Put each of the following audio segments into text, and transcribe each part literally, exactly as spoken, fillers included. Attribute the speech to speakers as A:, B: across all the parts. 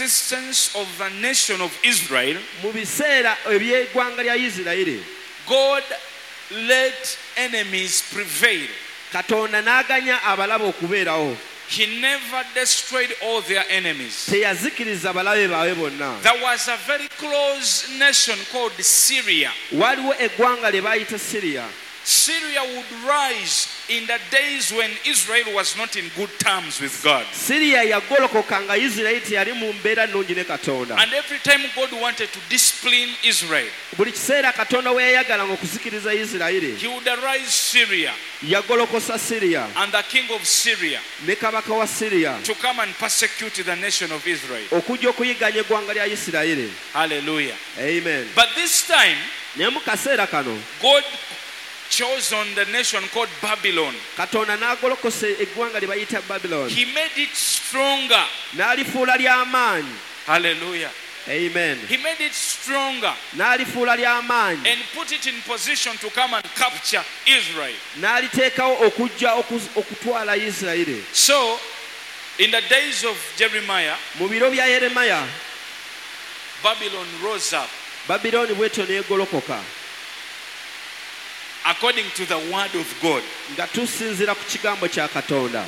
A: existence of the nation of Israel,
B: Mu biseera eby'eggwanga lya Isirayiri,
A: God let enemies prevail.
B: Katonda n'aganya abalabe okubeerawo.
A: He never destroyed all their enemies.
B: Teyazikiriza balabe baabwe bonna.
A: There was a very close nation called Syria.
B: Waliwo eggwanga lye baayita Siriya.
A: Syria would rise in the days when Israel was not in good terms with God.
B: Siriya yagolokoka nga Isirayiri teyali mu mbeera nnungi ne Katonda.
A: And every time God wanted to discipline Israel,
B: Buli kiseera Katonda we yayagalanga okuzikiriza Isirayiri,
A: he would arise Syria
B: yagolokosa Siriya
A: and the king of Syria
B: ne kabaka wa Siriya
A: to come and persecute the nation of Israel.
B: Okujja okuyigganya eggwanga lya Isirayiri.
A: Hallelujah.
B: Amen.
A: But this time,
B: Naye mu kaseera kano,
A: God chose on the nation called Babylon.
B: Katonda n'agolokosa eggwanga lye bayita Babylon.
A: He made it stronger.
B: N'alifuula ly'amaanyi.
A: Hallelujah.
B: Amen.
A: He made it stronger
B: N'alifuula ly'amaanyi
A: and put it in position to come and capture Israel.
B: N'aliteekawo okujja oku- okutwala Isirayiri.
A: So, in the days of Jeremiah,
B: Mu biro bya Yeremaya,
A: Babylon rose up
B: Babilooni bw'etyo n'egolokoka
A: according to the word of God.
B: Nga tusinziira ku kigambo kya Katonda.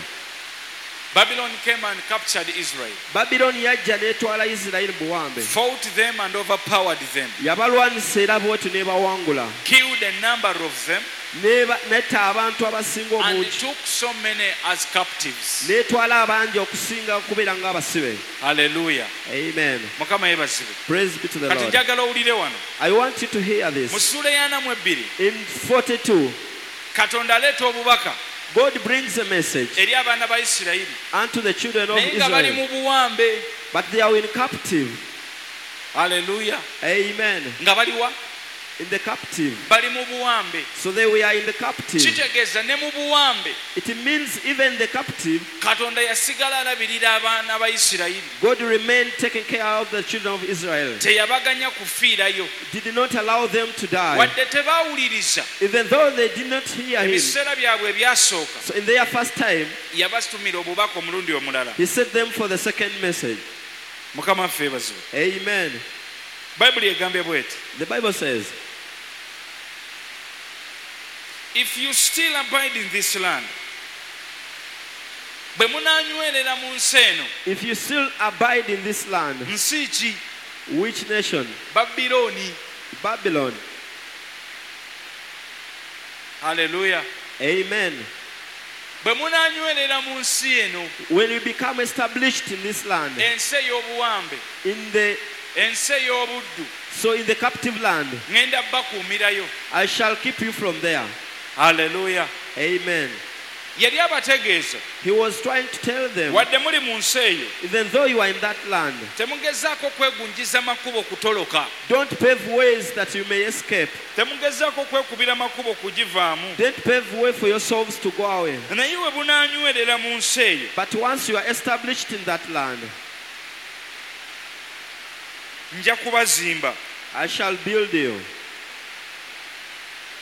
A: Babylon came and captured Israel,
B: Babilooni yajja n'etwala Isirayiri mu buwambe,
A: fought them and overpowered them,
B: yabalwanisa era bw'etyo n'ebawangula,
A: killed a number of them,
B: N'eba- n'etta abantu abasinga
A: and
B: obungi,
A: took so many as captives.
B: N'etwala abangi okusinga okubeera ng'abasibe.
A: Hallelujah.
B: Amen.
A: Mukama yeebazibwe.
B: Praise be to the
A: Kati
B: Lord.
A: Njagala owulire wano.
B: I want you to hear
A: Mu
B: this.
A: ssuula ey'ana mu ebbiri,
B: In forty-two,
A: Katonda aleeta obubaka
B: God brings a message
A: eri abaana ba Isirayiri
B: unto the children of
A: naye nga bali
B: Israel,
A: mu buwambe.
B: But they are in captive.
A: Haleluya.
B: Amen.
A: Nga baliwa?
B: In the captive.
A: Bali mu buwambe.
B: So they were in the captive.
A: Kitegeeza ne mu buwambe,
B: It means even the captive,
A: Katonda yasigala alabirira abaana ba Isirayiri.
B: God remained taking care of the children of Israel.
A: Teyabaganya kufiirayo.
B: Did not allow them to die.
A: Wadde tebaawuliriza,
B: Even though they did not hear him.
A: Ebiseera byabwe ebyasooka,
B: So in their first time,
A: yabatumira obubaka omulundi omulala.
B: He sent them for the second message.
A: Mukama waffe yeebazibwe.
B: Amen.
A: Bayibuli egambye bweti:
B: The Bible says,
A: if you still abide in this land, bwe munaanywerera mu nsi eno.
B: If you still abide in this land,
A: Nsi ki?
B: Which nation?
A: Babilooni.
B: Babylon.
A: Haleluya.
B: Amen.
A: Bwe munaanywerera mu nsi eno,
B: When you become established in this land,
A: ensi ey'obuwambe,
B: in the
A: ensi ey'obuddu,
B: so in the captive land,
A: ŋŋenda bakuumirayo.
B: I shall keep you from there.
A: Haleluya.
B: Amen.
A: Yali abategeeza,
B: He was trying to tell them,
A: wadde muli mu nsi eyo,
B: even though you are in that land,
A: temugezaako kwegunjiza makubo kutoloka,
B: don't pave ways that you may escape.
A: Temugezaako kwekubira makubo kugivaamu.
B: Don't pave way for yourselves to go away.
A: Naye we bunaanywerera mu nsi eyo,
B: But once you are established in that land,
A: nja kubazimba.
B: I shall build you.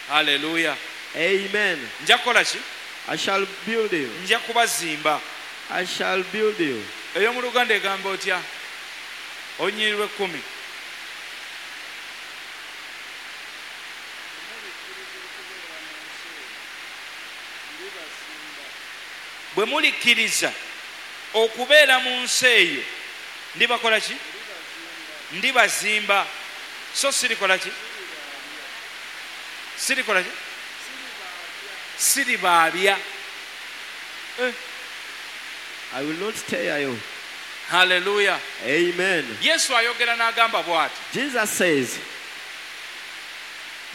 A: Haleluya.
B: Amen.
A: Nja kukola ki?
B: I shall build you.
A: Nja kubazimba.
B: I shall build you.
A: Ey'omu Luganda egamba otya? Olunyiriri lw'ekkumi.
C: Mulikkiriza okubeera mu nsi eyo, ndibazimba.
A: Bwe mulikkiriza okubeera mu nsi eyo, ndibakola ki?
C: Ndibazimba.
A: Ndibazimba, so sirikola ki? Sirikola ki? Siribaabya. Eh,
B: I will not tear you.
A: Haleluya.
B: Amen.
A: Yesu ayogera n'agamba bw'ati:
B: Jesus says,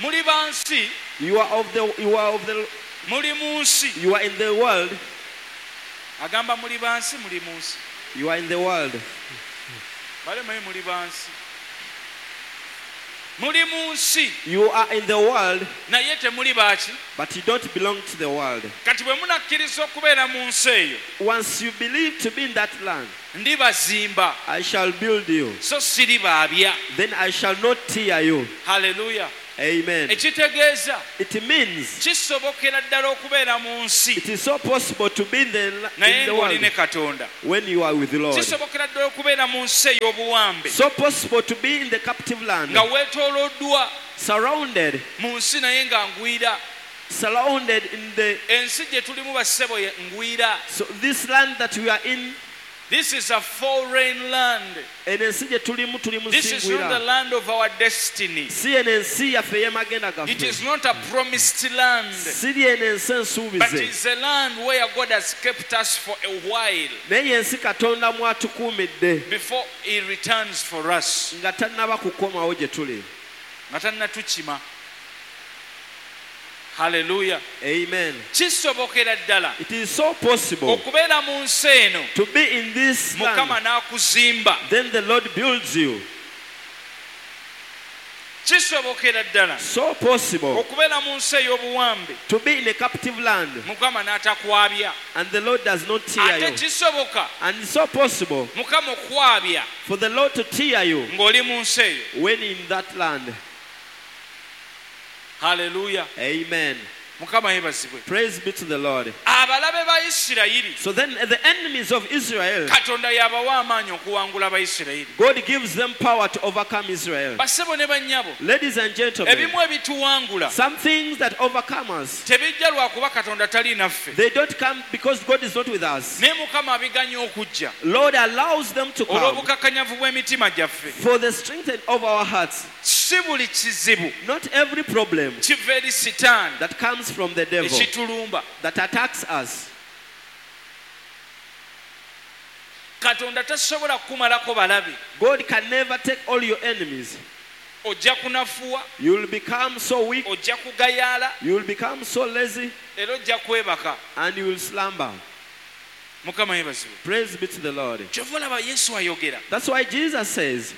A: muli ba nsi,
B: You are of the you are of the
A: muli mu nsi.
B: You are in the world.
A: Agamba muli ba nsi, muli mu nsi.
B: You are in the world.
A: Bale manyi muli ba nsi, muli mu nsi,
B: You are in the world,
A: naye temuli baaki?
B: But you don't belong to the world.
A: Kati bwe munakkiriza okubeera mu nsi eyo,
B: Once you believe to be in that land,
A: ndibazimba,
B: I shall build you.
A: So siribaabya.
B: Then I shall not tear you.
A: Haleluya.
B: Amen.
A: Ekitegeeza
B: It means
A: kisobokera ddala okubeera mu nsi
B: it is so possible to be in the,
A: naye
B: in the
A: ng'oli
B: world
A: ne Katonda.
B: when you are with the Lord.
A: Kisobokera ddala okubeera mu nsi ey'obuwambe
B: So possible to be in the captive land,
A: nga weetooloddwa
B: surrounded,
A: mu nsi naye nga ngwira.
B: surrounded in the
A: Ensi gye tulimu bassebo ye ngwira.
B: so this land that we are in.
A: This is a foreign land.
B: Eno ensi gye tulimu tuli mu
A: This
B: nsi
A: is not the
B: ngwira.
A: land of our destiny.
B: Si eno ensi yaffe ey'emagenda
A: It
B: gaffe.
A: is not a promised land.
B: Si eno ensi
A: But
B: ensuubize.
A: it's a land where God has kept us for a while
B: Naye ensi Katonda mw'atukuumidde
A: before He returns for us.
B: nga tannaba kukomawo gye tuli.
A: Nga tannatukima. Hallelujah.
B: Amen.
A: Kisobokera ddala
B: It is so possible
A: okubeera mu nsi eno
B: to be in this
A: Mukama
B: land.
A: n'akuzimba.
B: Then the Lord builds you.
A: Kisobokera ddala
B: So possible
A: okubeera mu nsi ey'obuwambe
B: to be in a captive land
A: Mukama n'atakwabya.
B: and the Lord does not tear
A: Ate
B: you.
A: kisoboka
B: And it's so possible
A: Mukama okwabya
B: for the Lord to tear you
A: ng'oli mu nsi eyo.
B: when in that land.
A: Hallelujah.
B: Amen.
A: Mukama yeebazibwe.
B: Praise be to the Lord.
A: Abalabe ba Isirayiri
B: So then the enemies of Israel,
A: Katonda y'abawa amaanyi okuwangula Abayisirayiri.
B: God gives them power to overcome Israel.
A: Bassebo ne bannyabo,
B: Ladies and gentlemen,
A: ebimu ebituwangula
B: some things that overcome us,
A: tebijja lwakuba Katonda tali naffe.
B: they don't come because God is not with us.
A: Naye Mukama abiganya okujja
B: Lord allows them to come
A: olw'obukakanyavu bw'emitima gyaffe.
B: for the strength of our hearts.
A: Si buli kizibu
B: Not every problem
A: kiva eri Sitaani
B: that comes from the devil
A: ekitulumba.
B: that attacks us.
A: Katonda tasobola kukumalako balabe.
B: God can never take all your enemies.
A: Ojja kunafuwa,
B: You will become so weak,
A: ojja kugayaala,
B: you will become so lazy,
A: era ojja kwebaka.
B: and you will slumber.
A: Mukama yeebazibwe.
B: Praise be to the Lord.
A: Kyova olaba Yesu ayogera
B: That's why Jesus says,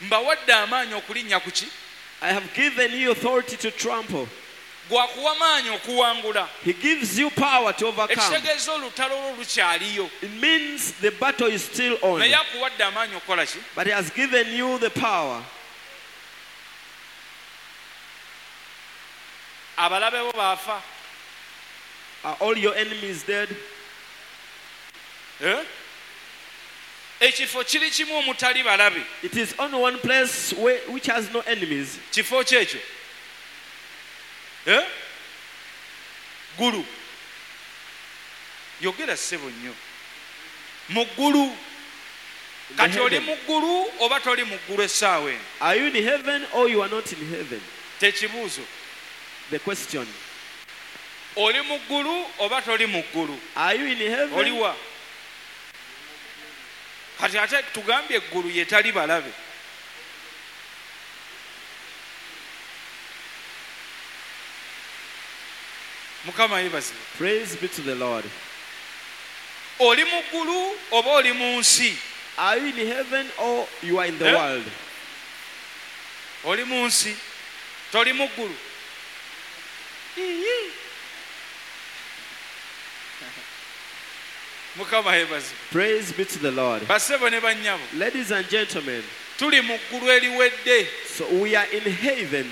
A: mbawadde amaanyi okulinnya ku ki?
B: I have given you authority to trample.
A: Gwakuwa maanyi okuwangula.
B: He gives you power to overcome.
A: Ekitegeeza olutalo lwo lukyaliyo.
B: It means the battle is still on.
A: Naye akuwadde amaanyi okukola ki?
B: But he has given you the power.
A: Abalabe bo baafa.
B: Are all your enemies dead?
A: Eh? Ekifo kiri kimu omutali balabe.
B: It is only one place where, which has no enemies.
A: Kifo ki ekyo? Eh? Ggulu. Yogera ssebo nnyo. Mu ggulu.
B: In the
A: Kati oli
B: heaven.
A: mu ggulu oba toli mu ggulu essaawa eno?
B: Are you in heaven or you are not in heaven?
A: Tekibuuzo.
B: The question.
A: Oli mu ggulu oba toli mu ggulu?
B: Are you in heaven?
A: Oliwa? Kati ate tugambye eggulu ye tali balabe. Mukama yeebazibwe.
B: Praise be to the Lord.
A: Oli mu ggulu oba oli mu nsi?
B: Are you in heaven or you are in the
A: Eh?
B: world?
A: Oli mu nsi, toli mu ggulu. Iiii. Mukama yeebazibwe.
B: Praise be to the Lord.
A: Bassebo ne bannyabo,
B: Ladies and gentlemen,
A: tuli mu ggulu eriwedde.
B: so we are in heaven.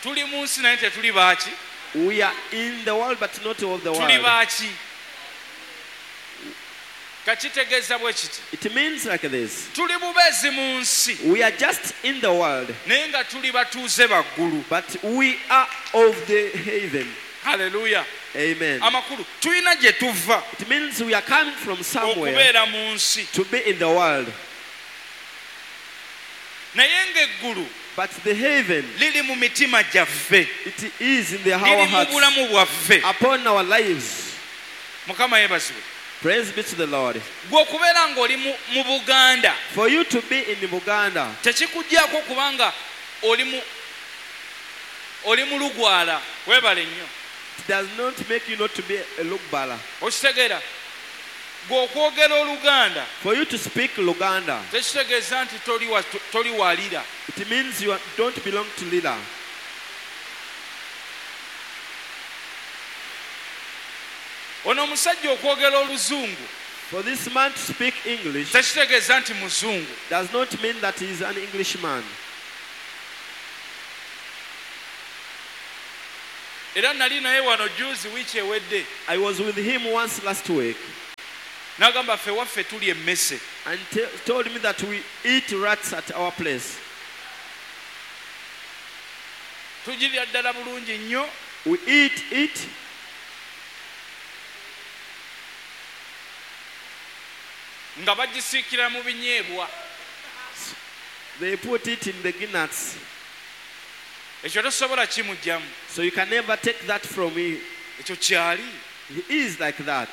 A: Tuli mu nsi naye tetuli baaki?
B: We are in the world, but not of the
A: Tuli
B: world.
A: baaki? Kakitegeeza bwe kiti.
B: It means like this.
A: Tuli bubeezi mu nsi
B: We are just in the world,
A: naye nga tuli batuuze ba ggulu.
B: but we are of the heaven.
A: Haleluya.
B: Amen.
A: Amakulu tulina gye tuva
B: It means we are coming from somewhere
A: okubeera mu nsi
B: to be in the world.
A: naye ng'eggulu
B: But the heaven,
A: liri mu mitima gyaffe,
B: it is in the our
A: liri mu
B: hearts,
A: bulamu bwaffe.
B: upon our lives.
A: Mukama yeebazibwe.
B: Praise be to the Lord.
A: Gwe okubeera ng'oli mu- mu Buganda
B: For you to be in Buganda,
A: tekikuggyako kubanga oli mu oli mu lugwala. Weebale nnyo.
B: it does not make you not to be a Lugbala.
A: Okitegeera? Gwe okwogera Oluganda
B: For you to speak Luganda,
A: tekitegeeza nti toli wa- toli walira.
B: it means you are- don't belong to Lila.
A: Ono omusajja okwogera Oluzungu
B: For this man to speak English
A: tekitegeeza nti muzungu.
B: does not mean that he is an Englishman.
A: Era nali naye wano juzi wiiki ewedde.
B: I was with him once last week
A: N'agamba ffe waffe tuli emmese.
B: and te- told me that we eat rats at our place.
A: Tugirya ddala bulungi nnyo.
B: We eat it
A: nga bagisiikira mu binyeebwa.
B: They put it in the guinness.
A: Ekyo tosobola kimuggyamu.
B: So you can never take that from him.
A: Ekyo kyali.
B: He is like that.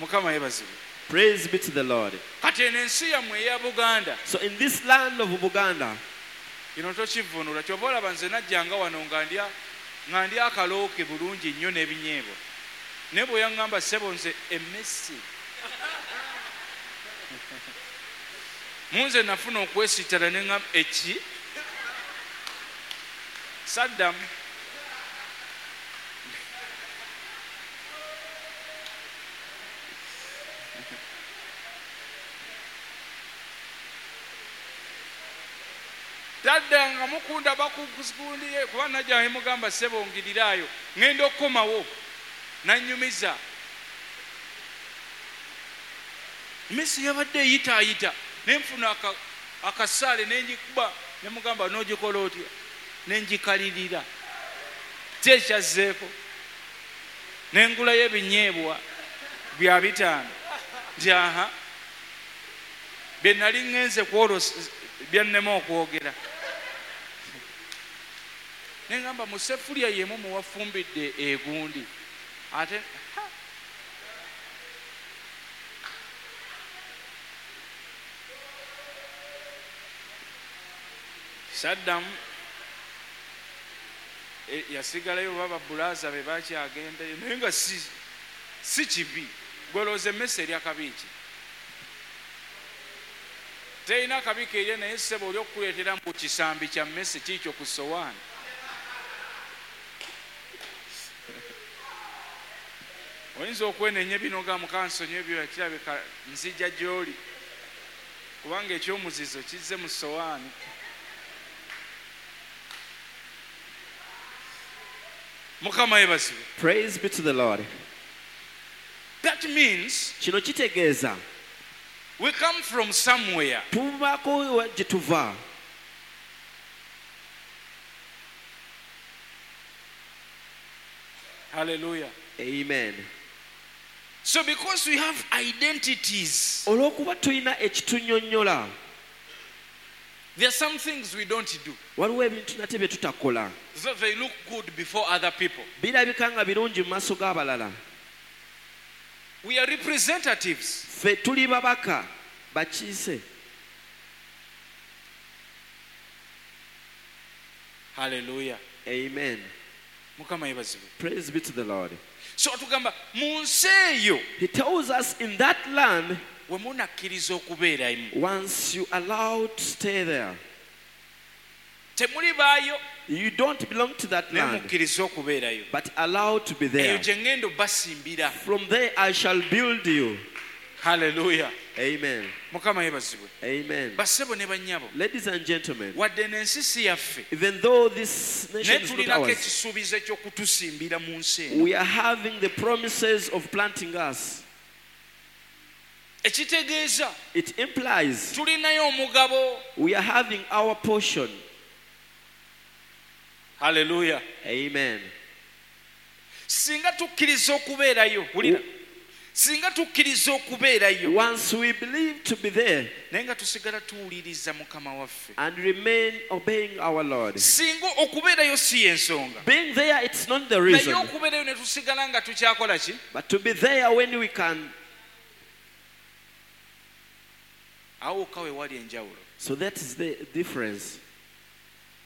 A: Mukama yeebazibwe.
B: Praise be to the Lord.
A: Kati eno ensi yammwe eya Buganda
B: So in this land of Buganda,
A: kino tokivvuunula kyova olaba nze najjanga wano nga ndya nga ndya akalooke bulungi nnyo n'ebinyeebwa naye bwe yaŋŋamba ssebo nze emmese mu nze nafuna okwesittala ne ŋŋamba eki saddamu. Taddanga mukunda bakugundiye kuba najja ne mugamba ssebo ngirirayo ŋŋenda okukomawo nannyumiza. Emmese yabadde eyitaayita ne nfuna akasaale ne ngikuba ne mugamba n'ogikola otya ne ngikalirira ki ekyazzeeko ne ngulayo ebinyeebwa bya bitaano nti aha bye nali ŋŋenze ku olwo byannema okwogera. Ne ŋŋamba mu sefulya y'emu muwafumbidde egundi ate saddamu yasigalayo baba bulaaza be bakyagendayo naye nga si si kibi. Gwolowooza emmese erya kabi ki? Terina kabi keerya naye ssebo oli okukuleetera mbu kisambi kya mmese kiikyo ku ssowaani. Oyinza okwenenya bino nga mukansonyi ebyo kirabika nzija gy'oli kubanga ekyomuzizo kizze mu ssowaani. Mukama yeebazibwe.
B: Praise be to the Lord.
A: That means
B: kino kitegeeza
A: we come from somewhere.
B: Tuvaako gye tuva.
A: Hallelujah.
B: Amen.
A: So because we have identities,
B: olw'okuba tulina ekitunyonnyola,
A: there are some things we don't do.
B: Waliwo ebintu nate bye tutakola.
A: So they look good before other people.
B: Birabika nga birungi mu maaso g'abalala.
A: We are representatives.
B: Ffe tuli babaka bakiise.
A: Hallelujah.
B: Amen.
A: Mukama yeebazibwe.
B: Praise be to the Lord.
A: So atugamba mu nsi eyo,
B: He tells us in that land,
A: we munakkiriza okubeeramu,
B: once you allow to stay there,
A: temuli baayo,
B: you don't belong to that
A: naye
B: land,
A: mukkirize okubeerayo.
B: but allow to be there.
A: Eyo gye ŋŋenda obbasimbira.
B: From there I shall build you.
A: Hallelujah.
B: Amen.
A: Mukama yeebazibwe.
B: Amen.
A: Bassebo ne bannyabo,
B: Ladies and gentlemen,
A: wadde n'ensi si yaffe,
B: even though this nation
A: naye
B: is not
A: tulinako
B: ours,
A: ekisuubizo eky'okutusimbira mu nsi eno.
B: we are having the promises of planting us.
A: Ekitegeeza
B: It implies
A: tulinayo omugabo.
B: we are having our portion.
A: Hallelujah.
B: Amen.
A: Singa tukkiriza okubeerayo, wulira. Singa tukkiriza okubeerayo,
B: Once we believe to be there
A: naye nga tusigala tuwuliriza Mukama waffe.
B: and remain obeying our Lord.
A: Singa okubeerayo si y'ensonga.
B: Being there, it's not the
A: Naye
B: reason.
A: okubeerayo ne tusigala nga tukyakola ki?
B: But to be there when we can.
A: Awo wokka we wali enjawulo.
B: So that is the difference.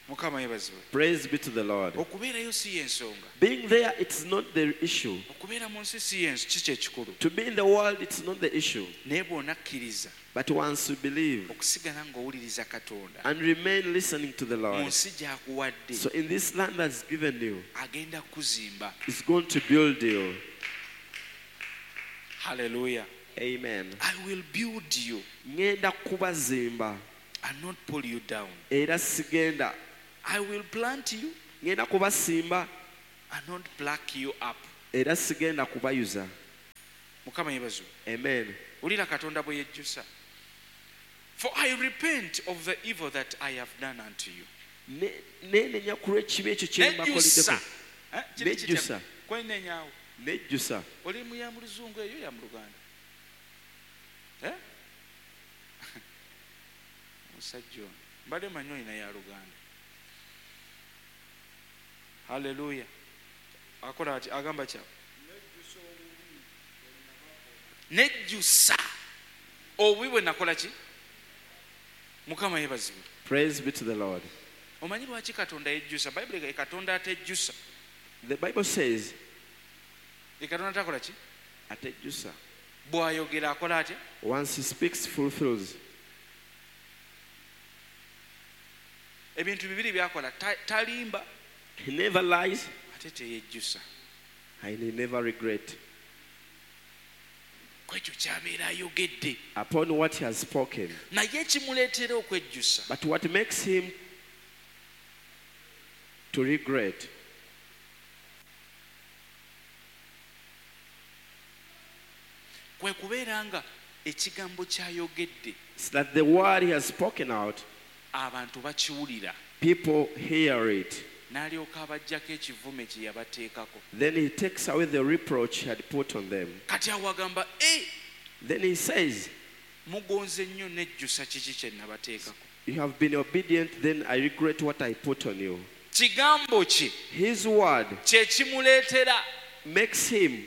A: Mukama yeebazibwe.
B: Praise be to the Lord.
A: Okubeerayo si y'ensonga.
B: Being there, it's not the issue.
A: Okubeera mu nsi si y'ens- si kyekikulu.
B: To be in the world, it's not the issue.
A: Naye bw'onakkiriza
B: But once you believe
A: okusigala ng'owuliriza Katonda
B: and remain listening to the
A: mu
B: Lord,
A: nsi gy'akuwadde,
B: so in this land that's given you,
A: agenda kuzimba.
B: it's going to build you.
A: Hallelujah.
B: Amen.
A: I will build you
B: ŋŋenda kubazimba
A: and not pull you down.
B: Era sigenda
A: I will plant you
B: ŋŋenda kubasimba
A: and not pluck you up.
B: Era sigenda kubayuza.
A: Mukama yeebazibwe.
B: Amen.
A: Wulira Katonda bwe yejjusa. For I repent of the evil that I have done unto you.
B: Ne- neenenya ku lw'ekibi ekyo kye
A: Nejjusa.
B: mbakoleddeko.
A: Eh, kiri kitya?
B: Nejjusa.
A: Kwenenyawo.
B: Nejjusa.
A: Oli mu ya mu luzungu eyo ya mu Luganda? Eh? Omusajja ono mbadde manyi olina ya Luganda. Haleluya. Akola ati agamba kya nejjusa obubi bwe nakola ki. Mukama yeebazibwe.
B: Praise be to the Lord.
A: Omanyi lwaki Katonda yejjusa? Bayibuli egamba Katonda atejjusa.
B: The Bible says
A: Ye Katonda takola ki?
B: Atejjusa.
A: Bw'ayogera akola atya?
B: Once he speaks, fulfills.
A: Ebintu bibiri byakola talimba.
B: He never lies.
A: Ate teyejjusa.
B: And he never regret.
A: Kwekyo ky'abeera ayogedde.
B: Upon what he has spoken.
A: Naye ekimuleetera okwejjusa.
B: But what makes him to regret?
A: Kwe kubeera nga ekigambo ky'ayogedde.
B: It's that the word he has spoken out,
A: abantu bakiwulira.
B: People hear it.
A: N'alyoka abaggyako ekivume kye yabateekako.
B: Then he takes away the reproach he had put on them.
A: Kati awo agamba, eh,
B: Then he says,
A: mugonze nnyo nejjusa kiki kye nabateekako.
B: You have been obedient, then I regret what I put on you.
A: Kigambo kye
B: His word
A: kye kimuleetera
B: makes him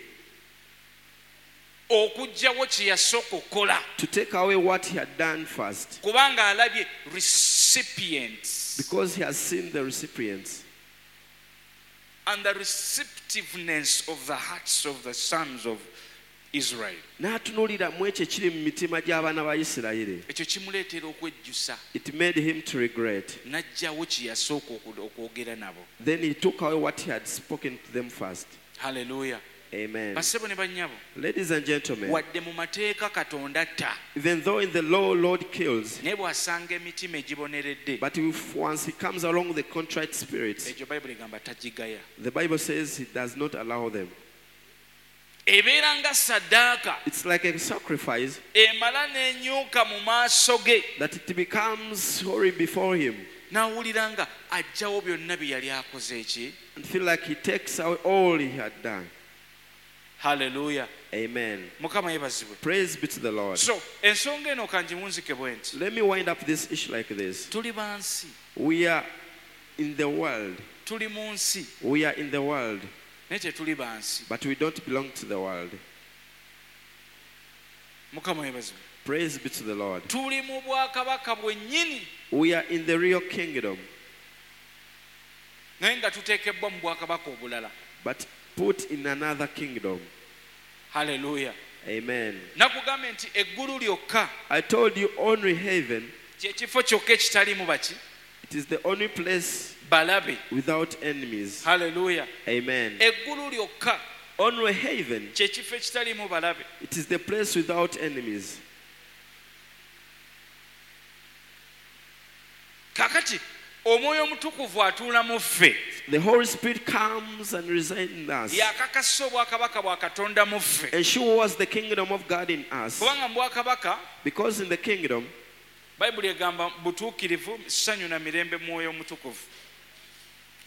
A: okuggyawo kye yasooka okukola.
B: To take away what he had done first.
A: Kubanga alabye recipients.
B: Because he has seen the recipients.
A: And the receptiveness of the hearts of the sons of Israel.
B: N'atunuulira mu ekyo ekiri mu mitima gy'abaana ba Isirayiri.
A: Ekyo kimuleetera okwejjusa.
B: It made him to regret.
A: N'aggyawo kye yasooka okwogera nabo.
B: Then he took away what he had spoken to them first.
A: Hallelujah.
B: Amen.
A: Bassebo ne bannyabo.
B: Ladies and gentlemen.
A: Wadde mu mateeka Katonda atta.
B: Even though in the law Lord kills.
A: Naye bw'asanga emitima egiboneredde.
B: But if once he comes along the contrite spirits.
A: Ekyo Bayibuli egamba tagigaya.
B: The Bible says he does not allow them.
A: Ebeera nga ssaddaaka.
B: It's like a sacrifice.
A: Emala n'enyuka mu maaso ge.
B: That it becomes holy before him.
A: N'awulira nga aggyawo byonna bye yali akoze eki.
B: And feel like he takes away all he had done.
A: Hallelujah.
B: Amen.
A: Mukama yeebazibwe.
B: Praise be to the Lord.
A: So, ensonga eno kangiwunzike bwe nti.
B: Let me wind up this issue like this.
A: Tuli ba nsi.
B: We are in the world.
A: Tuli mu nsi.
B: We are in the world.
A: Naye tetuli ba nsi.
B: But we don't belong to the world.
A: Mukama yeebazibwe.
B: Praise be to the Lord.
A: Tuli mu bwakabaka bwennyini.
B: We are in the real kingdom.
A: Naye nga tuteekebwa mu bwakabaka obulala.
B: But put in another kingdom.
A: Hallelujah.
B: Amen.
A: Nakugambye nti eggulu lyokka.
B: I told you only heaven.
A: Kye kifo kyokka ekitaliimu baki?
B: It is the only place
A: balabe
B: without enemies.
A: Hallelujah.
B: Amen.
A: Eggulu lyokka.
B: Only heaven.
A: Kye kifo ekitaliimu balabe.
B: It is the place without enemies.
A: Kakati Omwoyo Omutukuvu atuula mu ffe.
B: The Holy Spirit comes and resides in us.
A: Yakakasa obwakabaka bwa Katonda mu ffe.
B: Ensures the kingdom of God in us.
A: Kubanga mu bwakabaka,
B: Because in the kingdom,
A: Bayibuli egamba butuukirivu, ssanyu na mirembe Mwoyo Omutukuvu.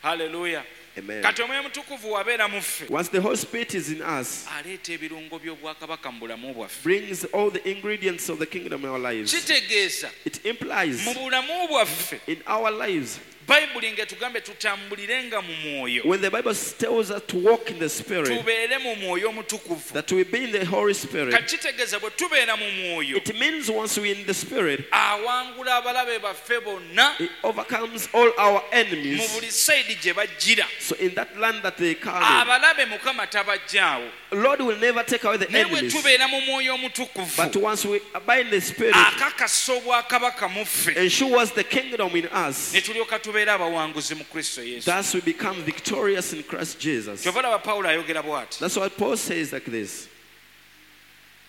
A: Hallelujah.
B: Amen.
A: Kati Omwoyo Omutukuvu wabeera mu ffe.
B: Once the Holy Spirit is in us,
A: aleeta ebirungo by'obwakabaka mu bulamu bwaffe.
B: Brings all the ingredients of the kingdom in our lives.
A: Kitegeeza
B: It implies
A: mu bulamu bwaffe,
B: in our lives,
A: Bayibuli ng'etugambe tutambulirenga mu mwoyo.
B: When the Bible tells us to walk in the Spirit,
A: tubeere mu mwoyo omutukuvu.
B: That we be in the Holy Spirit.
A: Kati kitegeeza bwe tubeera mu mwoyo,
B: It means once we're in the Spirit,
A: awangula abalabe baffe bonna
B: it overcomes all our enemies.
A: mu buli sayidi gye bajjira.
B: So in that land that they come in,
A: abalabe Mukama tabajjaawo.
B: Lord will never take away the
A: Naye bwe
B: enemies.
A: tubeera mu mwoyo omutukuvu,
B: But once we abide in the Spirit,
A: akakasa obwakabaka mu ffe.
B: Ensures the kingdom in us.
A: Ne tulyoka tubeera abawanguzi mu Kristo Yesu.
B: Thus we become victorious in Christ Jesus.
A: Kyova olaba Pawulo ayogera bw'ati.
B: That's what Paul says like this.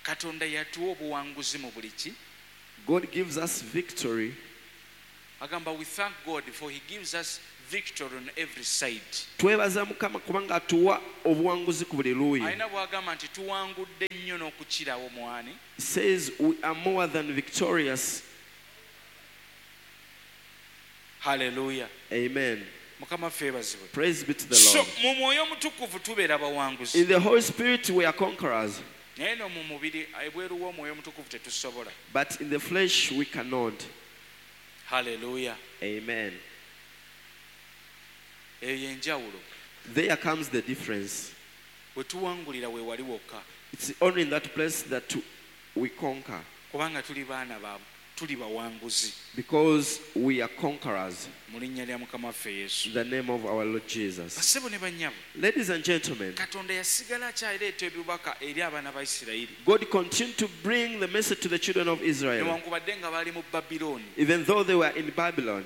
A: Katonda yatuwa obuwanguzi mu buli ki.
B: God gives us victory.
A: Agamba we thank God for he gives us victory on every side.
B: Twebaza Mukama kubanga atuwa obuwanguzi ku buli luuyi.
A: Alina bw'agamba nti tuwangudde nnyo n'okukirawo mwani.
B: He says we are more than victorious.
A: Hallelujah.
B: Amen.
A: Mukama ffe yeebazibwe.
B: Praise be to the
A: So
B: Lord.
A: mu mwoyo omutukuvu tubeera bawanguzi.
B: In the Holy Spirit we are conquerors.
A: Naye no mu mubiri ebweru w'omwoyo omutukuvu tetusobola.
B: But in the flesh we cannot.
A: Hallelujah.
B: Amen.
A: Eyo y'enjawulo.
B: There comes the difference.
A: We tuwangulira we wali wokka.
B: It's only in that place that we conquer.
A: Kubanga tuli baana ba tuli bawanguzi.
B: Because we are conquerors.
A: Mu linnya lya Mukama waffe Yesu.
B: In the name of our Lord Jesus.
A: Bassebo ne bannyabo.
B: Ladies and gentlemen,
A: Katonda yasigala akyaleeta ebibaka eri abaana ba Isirayiri.
B: God continued to bring the message to the children of Israel.
A: Newankubadde nga baali mu Babilooni.
B: Even though they were in Babylon.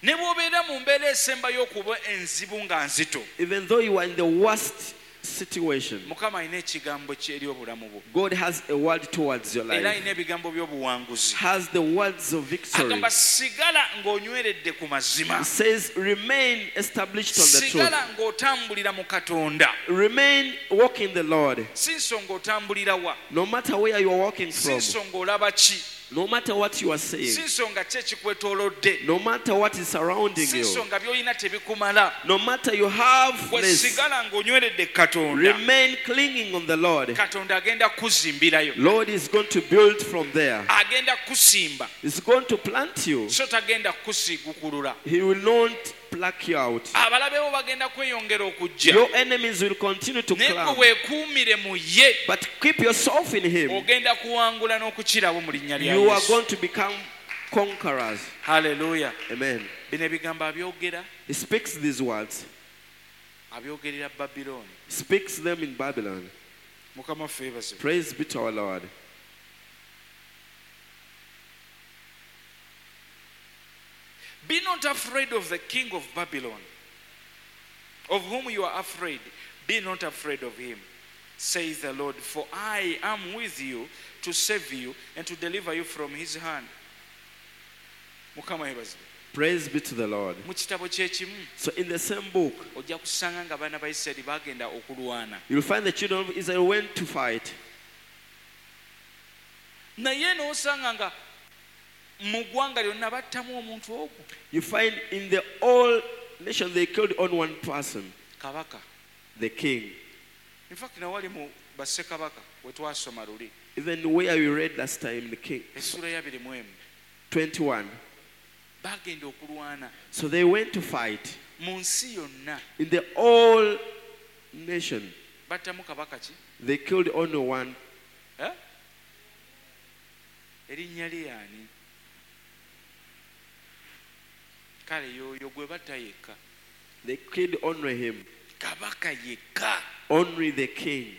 A: Ne bw'obeera mu mbeera esembayo okuba enzibu nga nzito.
B: Even though you are in the worst situation,
A: Mukama alina ekigambo kye eri obulamu bwo.
B: God has a word towards your
A: Era
B: life.
A: alina ebigambo by'obuwanguzi.
B: Has the words of victory.
A: Agamba sigala ng'onyweredde ku mazima.
B: He says remain established on the truth.
A: Sigala ng'otambulira mu Katonda.
B: Remain walking the Lord.
A: Si nsonga otambulira wa.
B: No matter where you are walking
A: Si
B: from.
A: nsonga olaba ki.
B: No matter what you are saying.
A: Si nsonga ki ekikwetoolodde.
B: No matter what is surrounding
A: Si
B: you.
A: nsonga by'olina tebikumala.
B: No matter you have
A: Gwe
B: less.
A: sigala ng'onyweredde Katonda.
B: Remain clinging on the Lord.
A: Katonda agenda kuzimbirayo.
B: Lord is going to build from there.
A: Agenda kusimba.
B: He's going to plant you.
A: So tagenda kusiigukulula.
B: He will not pluck you out.
A: Abalabe bo bagenda kweyongera okujja.
B: Your enemies will continue to
A: Naye gwe
B: climb.
A: weekuumire mu ye.
B: But keep yourself in him.
A: Ogenda kuwangula n'okukirawo mu linnya lya
B: You are
A: Yesu.
B: going to become conquerors.
A: Hallelujah.
B: Amen.
A: Bino ebigambo abyogera,
B: He speaks these words.
A: abyogerera Babilooni.
B: He speaks them in Babylon.
A: Mukama waffe yeebazibwe.
B: Praise be to our Lord.
A: Be not afraid of the king of Babylon, of whom you are afraid. Be not afraid of him, says the Lord, for I am with you to save you and to deliver you from his hand. Mukama yeebazibwe.
B: Praise be to the Lord.
A: Mu kitabo kye kimu,
B: So in the same book,
A: ojja kusanga nga abaana ba Isirayiri bagenda okulwana.
B: you'll find the children of Israel went to fight.
A: Naye n'osanga nga mu ggwanga lyonna battamu omuntu ogwo.
B: You find in the whole nation they killed only one person,
A: Kabaka.
B: the king.
A: In fact, nawali mu bassekabaka we twasoma luli.
B: Even where we read last time, the king,
A: Essuula ya abiri mu emu.
B: twenty-one.
A: Bagenda okulwana
B: So they went to fight
A: mu nsi yonna.
B: in the whole nation.
A: Battamu kabaka ki?
B: They killed only one.
A: Eh? Erinnya lye ani? Kale y'oyo gwe batta yekka.
B: They killed only him.
A: Kabaka yekka.
B: Only the king.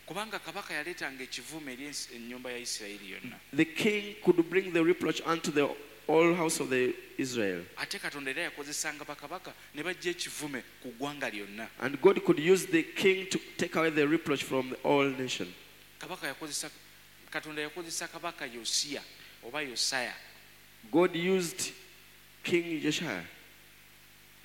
A: Kubanga kabaka yaleetanga ekivume eri ensi- ennyumba ya Isirayiri yonna.
B: The king could bring the reproach unto the whole house of the Israel.
A: Ate Katonda era yakozesanga bakabaka ne bajja ekivume ku ggwanga lyonna.
B: And God could use the king to take away the reproach from the whole nation.
A: Kabaka yakozesa, Katonda yakozesa kabaka Yosiya oba Yosaya.
B: God used King Josiah,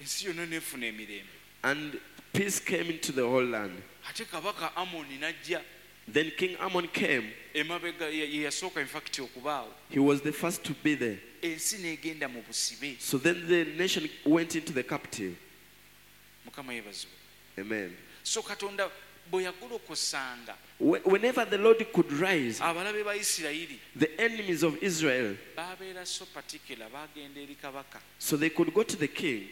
A: Ensi yonna n'efuna emirembe.
B: and peace came into the whole land.
A: Ate kabaka Amoni n'ajja
B: Then King Amon came.
A: emabega ye ye yasooka in fact okubaawo.
B: He was the first to be there.
A: Ensi n'egenda mu busibe.
B: So then the nation went into the captive.
A: Mukama yeebazibwe.
B: Amen.
A: So Katonda bwe yagolokosanga
B: Whenever the Lord could rise,
A: abalabe ba Isirayiri
B: the enemies of Israel,
A: babeera so particular, bagenda eri kabaka.
B: so they could go to the king.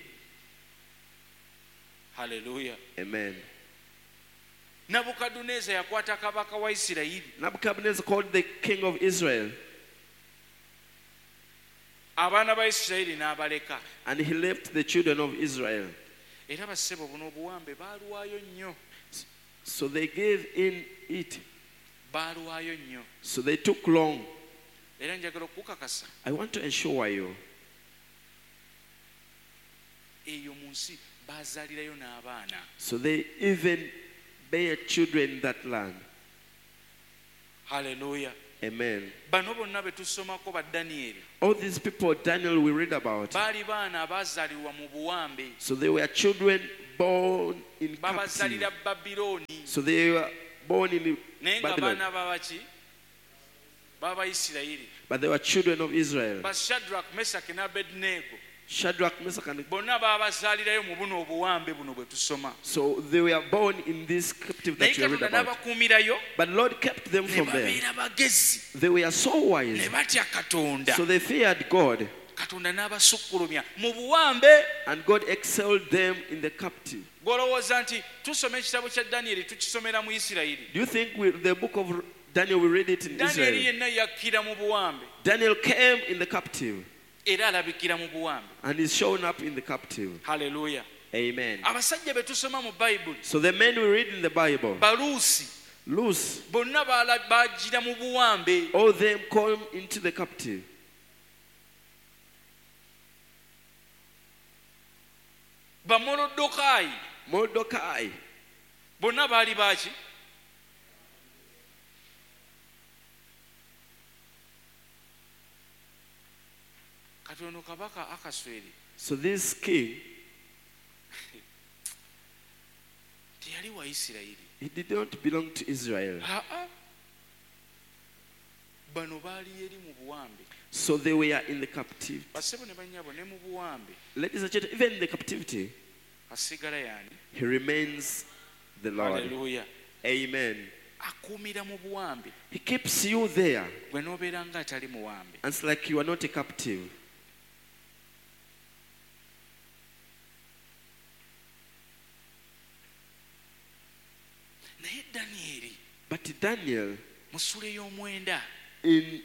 A: Hallelujah.
B: Amen.
A: Nabukadduneeza yakwata kabaka wa Isirayiri.
B: Nebuchadnezzar called the king of Israel,
A: Abaana ba Isirayiri n'abaleka.
B: and he left the children of Israel.
A: Era bassebo buno obuwambe baalwayo nnyo.
B: So they gave in it.
A: Baalwayo nnyo.
B: So they took long.
A: Era njagala okukakasa
B: I want to ensure you,
A: eyo mu nsi baazaalirayo n'abaana.
B: So they even bear children in that land.
A: Hallelujah.
B: Amen.
A: Bano bonna be tusomako ba Danyeri
B: All these people, Daniel, we read about.
A: Baali baana abaazaalirwa mu buwambe.
B: So they were children born in captivity.
A: Babazaalira Babilooni.
B: So they were born in
A: Naye nga
B: Babylon.
A: baana babaki? B'Abayisirayiri.
B: But they were children of Israel.
A: Ba Shadrach, Meshach ne Abednego.
B: Shadrach, Meshach, and
A: Bonna baabazaalirayo mu buno obuwambe buno bwe tusoma.
B: So they were born in this captive
A: Naye
B: that you read
A: Katonda
B: about.
A: n'abakuumirayo
B: But Lord kept them
A: ne
B: from there.
A: babeera bagezi
B: They were so
A: ne
B: wise.
A: batya Katonda.
B: So they feared God.
A: Katonda n'abasukkulumya mu buwambe.
B: And God excelled them in the captive.
A: Gw'olowooza nti tusoma ekitabo kya Danyeri tukisomera mu Isirayiri.
B: Do you think we, the book of Daniel, we read it in
A: Danyeri
B: Israel?
A: yenna yakkira mu buwambe.
B: Daniel came in the captive.
A: Era alabikira mu buwambe.
B: And is shown up in the captive.
A: Hallelujah.
B: Amen.
A: Abasajja be tusoma mu Bayibuli.
B: So the men we read in the Bible,
A: Baluusi.
B: Lucy,
A: Bonna baagira mu buwambe.
B: all them come into the captive.
A: Bamolodokaayi.
B: Mordecai.
A: Bonna baali baaki? Kati ono kabaka Akasweri.
B: So this king,
A: Teyali wa Isirayiri.
B: he did not belong to Israel.
A: Aa. Bano baali eri mu buwambe.
B: So they were in the captivity.
A: Bassebo ne bannyabo ne mu buwambe.
B: Ladies and gentlemen, even in the captivity,
A: Asigala y'ani?
B: he remains the Lord.
A: Hallelujah.
B: Amen.
A: Akuumira mu buwambe.
B: He keeps you there.
A: Gwe n'obeera nga atali muwambe.
B: And it's like you are not a captive.
A: Naye Danyeri,
B: But Daniel,
A: mu ssuula ey'omwenda,
B: in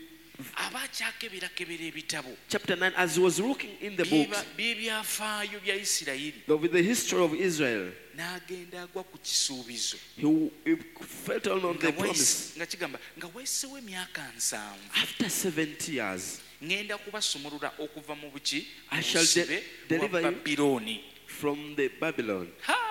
A: aba akyakeberakebera ebitabo
B: chapter nine, as he was looking in the books
A: by'ebyafaayo bya Isirayiri,
B: of the history of Israel,
A: n'agenda agwa ku kisuubizo.
B: he, he felt on the
A: Nga
B: promise.
A: waisi- nga kigamba nga wayiseewo emyaka nsanvu,
B: After seventy years,
A: ŋŋenda kubasumulula okuva mu buki
B: I shall de-
A: busibe bwa
B: deliver you
A: Babilooni.
B: from the Babylon.
A: Ha!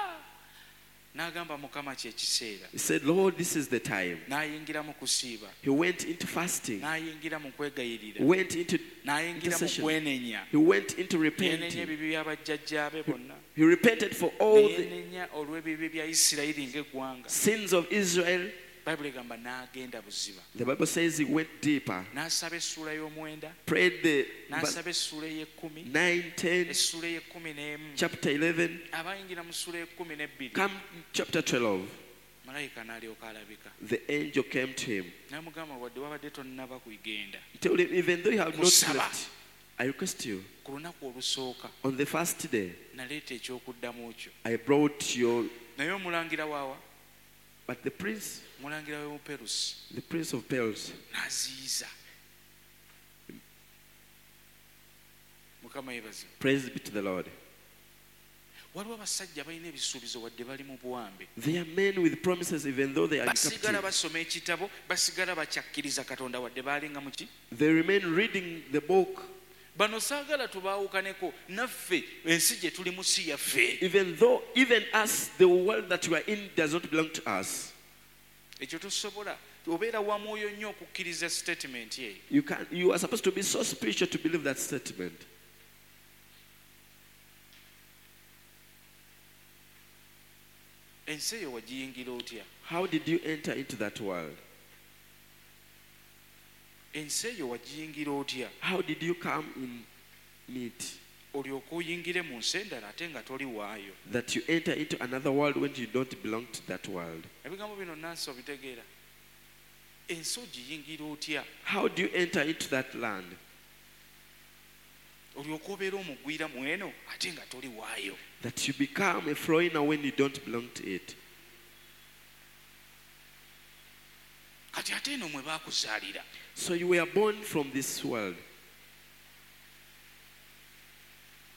A: N'agamba Mukama kye kiseera.
B: He said, Lord, this is the time.
A: N'ayingira mu kusiiba.
B: He went into fasting.
A: N'ayingira mu kwegayirira.
B: Went into
A: N'ayingira mu
B: intercession.
A: kwenenya.
B: He went into
A: Yeenenya
B: repenting.
A: ebibi bya bajjajjaabe bonna.
B: He repented for all the
A: Yeenenya olw'ebibi bya Isirayiri ng'eggwanga.
B: sins of Israel.
A: Bayibuli egamba n'agenda buziba.
B: The Bible says he went deeper.
A: N'asaba essuula y'omwenda.
B: Prayed the verse
A: N'asaba essuula ey'ekkumi.
B: nine, ten,
A: Essuula ey'ekkumi n'emu.
B: chapter eleven,
A: Abayingira mu ssuula ey'ekkumi n'ebbiri.
B: come chapter twelve.
A: Malayika n'alyoka alabika.
B: The angel came to him.
A: N'amugamba wadde wabadde tonnaba kugenda.
B: He told him, even though you have not
A: Kusaba.
B: left, I request you,
A: Ku lunaku olusooka
B: on the first day,
A: naleeta ekyokuddamu kyo.
B: I brought your...
A: Naye omulangira waawa?
B: But the prince,
A: Omulangira w'e Buperusi
B: the prince of Persia,
A: n'aziyiza. Mukama yeebazibwe.
B: Praise be to the Lord.
A: Waliwo abasajja balina ebisuubizo wadde bali mu buwambe.
B: They are men with promises even though they are in
A: Basigala
B: captivity.
A: basoma ekitabo, basigala bakyakkiriza Katonda wadde baalinga mu ki?
B: They remain reading the book.
A: Bano saagala tubaawukaneko naffe ensi gye tulimu si yaffe.
B: Even though, even us, the world that we are in does not belong to us.
A: Ekyo tosobola. Obeera wa mwoyo nnyo okukkiriza statement eyo.
B: You can, you are supposed to be so spiritual to believe that statement.
A: Ensi eyo wagiyingira otya?
B: How did you enter into that world?
A: Ensi eyo wagiyingira otya?
B: How did you come in it?
A: Olyoke oyingire mu nsi endala ate nga toli waayo.
B: That you enter into another world when you don't belong to that world.
A: Ebigambo bino nansi obitegeera. Ensi ogiyingira otya?
B: How do you enter into that land?
A: Olyoke obeere omugwira mu eno ate nga toli waayo.
B: That you become a foreigner when you don't belong to it.
A: Kati ate eno mwe baakuzaalira.
B: So you were born from this world.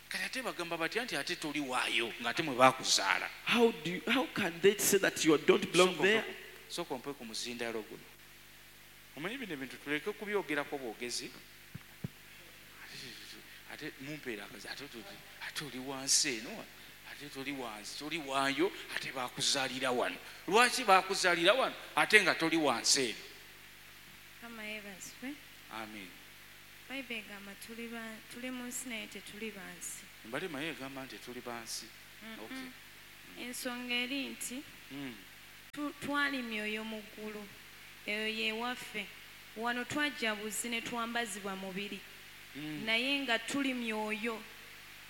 A: Kati ate bagamba batya nti ate toli waayo ng'ate mwe baakuzaala.
B: How do you, how can they say that you don't belong
A: Sooka
B: there?
A: ompe ku- sooka ompe ku muzindaalo guno. Omanyi bino ebintu tuleke kubyogerako bwogezi. Ate mumpeera akazi, ate ate oli wansi eno, Ate toli wansi, toli waayo, ate baakuzaalira wano. Lwaki baakuzaalira wano ate nga toli wansi eno?
D: Mukama yeebazibwe.
A: Amiina.
D: Bayibuli egamba tuli ba- tuli mu nsi naye tetuli ba nsi.
A: Mbadde manyi egamba nti tuli bansi. Okay.
D: Ensonga eri nti
A: Mm.
D: tu- twali myoyo mu ggulu, eyo ye waffe. Wano twajja buzi ne twambazibwa mubiri,
A: Mm.
D: naye nga tuli myoyo.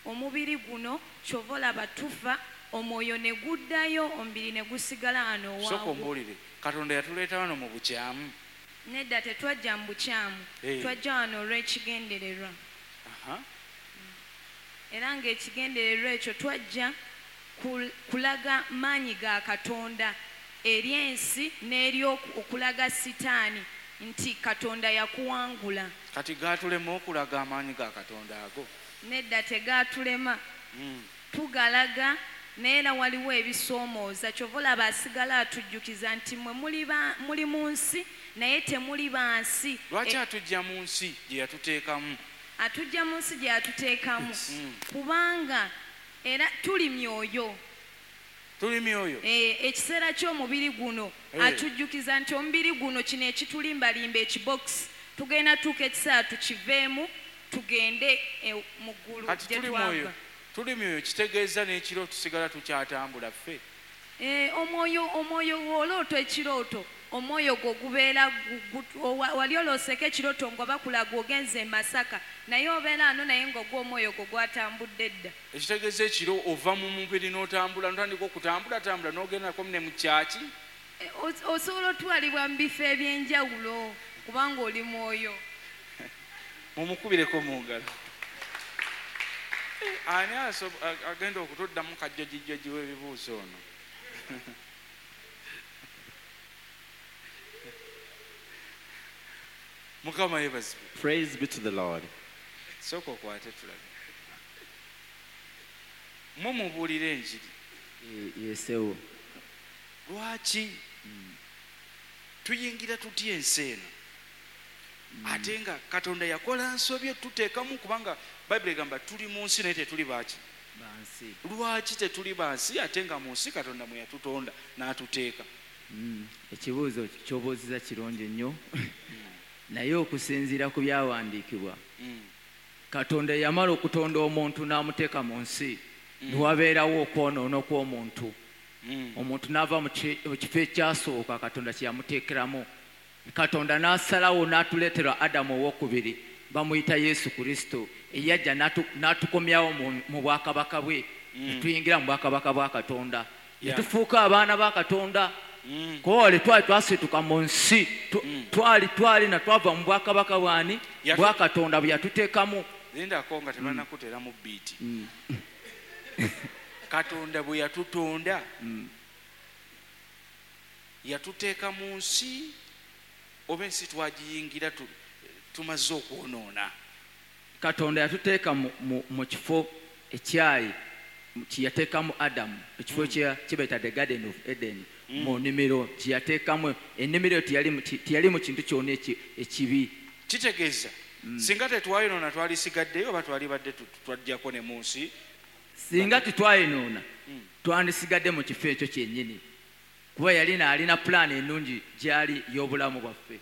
D: Omubiri guno kyova olaba tufa, omwoyo ne guddayo, omubiri ne gusigala wano
A: Sooka
D: owaagwo.
A: ombuulire, Katonda yatuleeta wano mu bukyamu?
D: Nedda, tetwajja mu bukyamu.
A: Eh.
D: Twajja wano olw'ekigendererwa.
A: Aha.
D: Era ng'ekigendererwa ekyo twajja kul- kulaga maanyi ga Katonda eri ensi n'eri oku- okulaga Sitaani nti Katonda yakuwangula.
A: Kati gaatulema okulaga amaanyi ga Katonda ago?
D: Nedda, tegaatulema.
A: Mm.
D: Tugalaga, naye era waliwo ebisoomooza. Kyova olaba asigala atujjukiza nti mwe muli ba- muli mu nsi naye temuli ba nsi.
A: Lwaki
D: E-
A: atujja mu nsi gye yatuteekamu?
D: Atujja mu nsi gye yatuteekamu
A: Mm.
D: kubanga era tuli myoyo.
A: Tuli myoyo.
D: Eh, ekiseera ky'omubiri guno,
A: Eh.
D: atujjukiza nti omubiri guno kino ekitulimbalimba, ekibokisi, tugenda tuuka ekiseera tukiveemu tugende eh, mu ggulu
A: Kati
D: gye
A: tuli mwoyo,
D: twava.
A: tuli myoyo kitegeeza n'ekiro tusigala tukyatambula ffe?
D: Eh, omwoyo omwoyo olooto ekirooto, omwoyo gwo gubeera gu- gu- owa- wali olooseko ekirooto nga bakulaga ogenze e Masaka, naye obeera ano, naye nga ogwo omwoyo gwo gwatambudde dda.
A: Ekitegeeza ekiro ova mu mubiri n'otambula, n'otandika okutambula tambula n'ogendako ne mu kyaki?
D: Eh, os- osobola otwalibwa mu bifo ebyenjawulo kubanga oli mwoyo.
A: Mumukubireko mu ngalo. Eh, ani aso- a- agenda okutuddamu kajjojijjoji w'ebibuuzo ono? Mukama yeebazibwe.
E: Praise be to the Lord.
A: Sooka okwate tulabe. Mumubuulira enjiri?
F: Yesewo.
A: Lwaki tuyingira tutya ensi eno ate nga Katonda yakola nsobi tuteekamu? Kubanga Bayibuli egamba tuli mu nsi naye tetuli baaki?
F: Bansi.
A: Lwaki tetuli bansi ate nga mu nsi Katonda mwe yatutonda n'atuteeka?
F: Mm, ekibuuzo ky'obuuziza kirungi nnyo, naye okusinziira ku byawandiikibwa,
A: Mm.
F: Katonda yamala okutonda omuntu n'amuteeka mu nsi, newabeerawo okwonoona okw'omuntu.
A: Mm.
F: Omuntu n'ava mu ki- mu kifo ekyasooka Katonda kye yamuteekeramu. Katonda n'asalawo n'atuleetera Adamu owokubiri, bamuyita Yesu Kristo, eyajja n'atu- n'atukomyawo mu- mu bwakabaka bwe, ne tuyingira mu bwakabaka bwa Katonda, ne
A: Yeah.
F: tufuuka abaana ba Katonda.
A: Mm.
F: Kuba twali twasituka mu nsi, tu- twali twalina twava mu bwakabaka bwani?
A: Yatu-
F: Bwa Katonda bwe yatuteekamu.
A: Lindako nga tebannakuteeramu biiti. Katonda bwe yatutonda, yatuteeka mu nsi oba ensi twagiyingira tu- tumaze okwonoona?
F: Katonda yatuteeka mu, mu, mu kifo ekyayi kyeyateekamu Adamu, ekifo kye kye bayita the Garden of Eden, mu nnimiro kyeyateekamu. Ennimiro eyo teyali mu- teyali mu kintu kyonna eki- ekibi.
A: Kitegeeza singa tetwayonoona twalisigaddeyo oba twalibadde tu- twajjako ne mu nsi?
F: Singa tetwayonoona twandisigadde mu kifo ekyo kyennyini, kuba yalina alina pulaani ennungi gyali y'obulamu bwaffe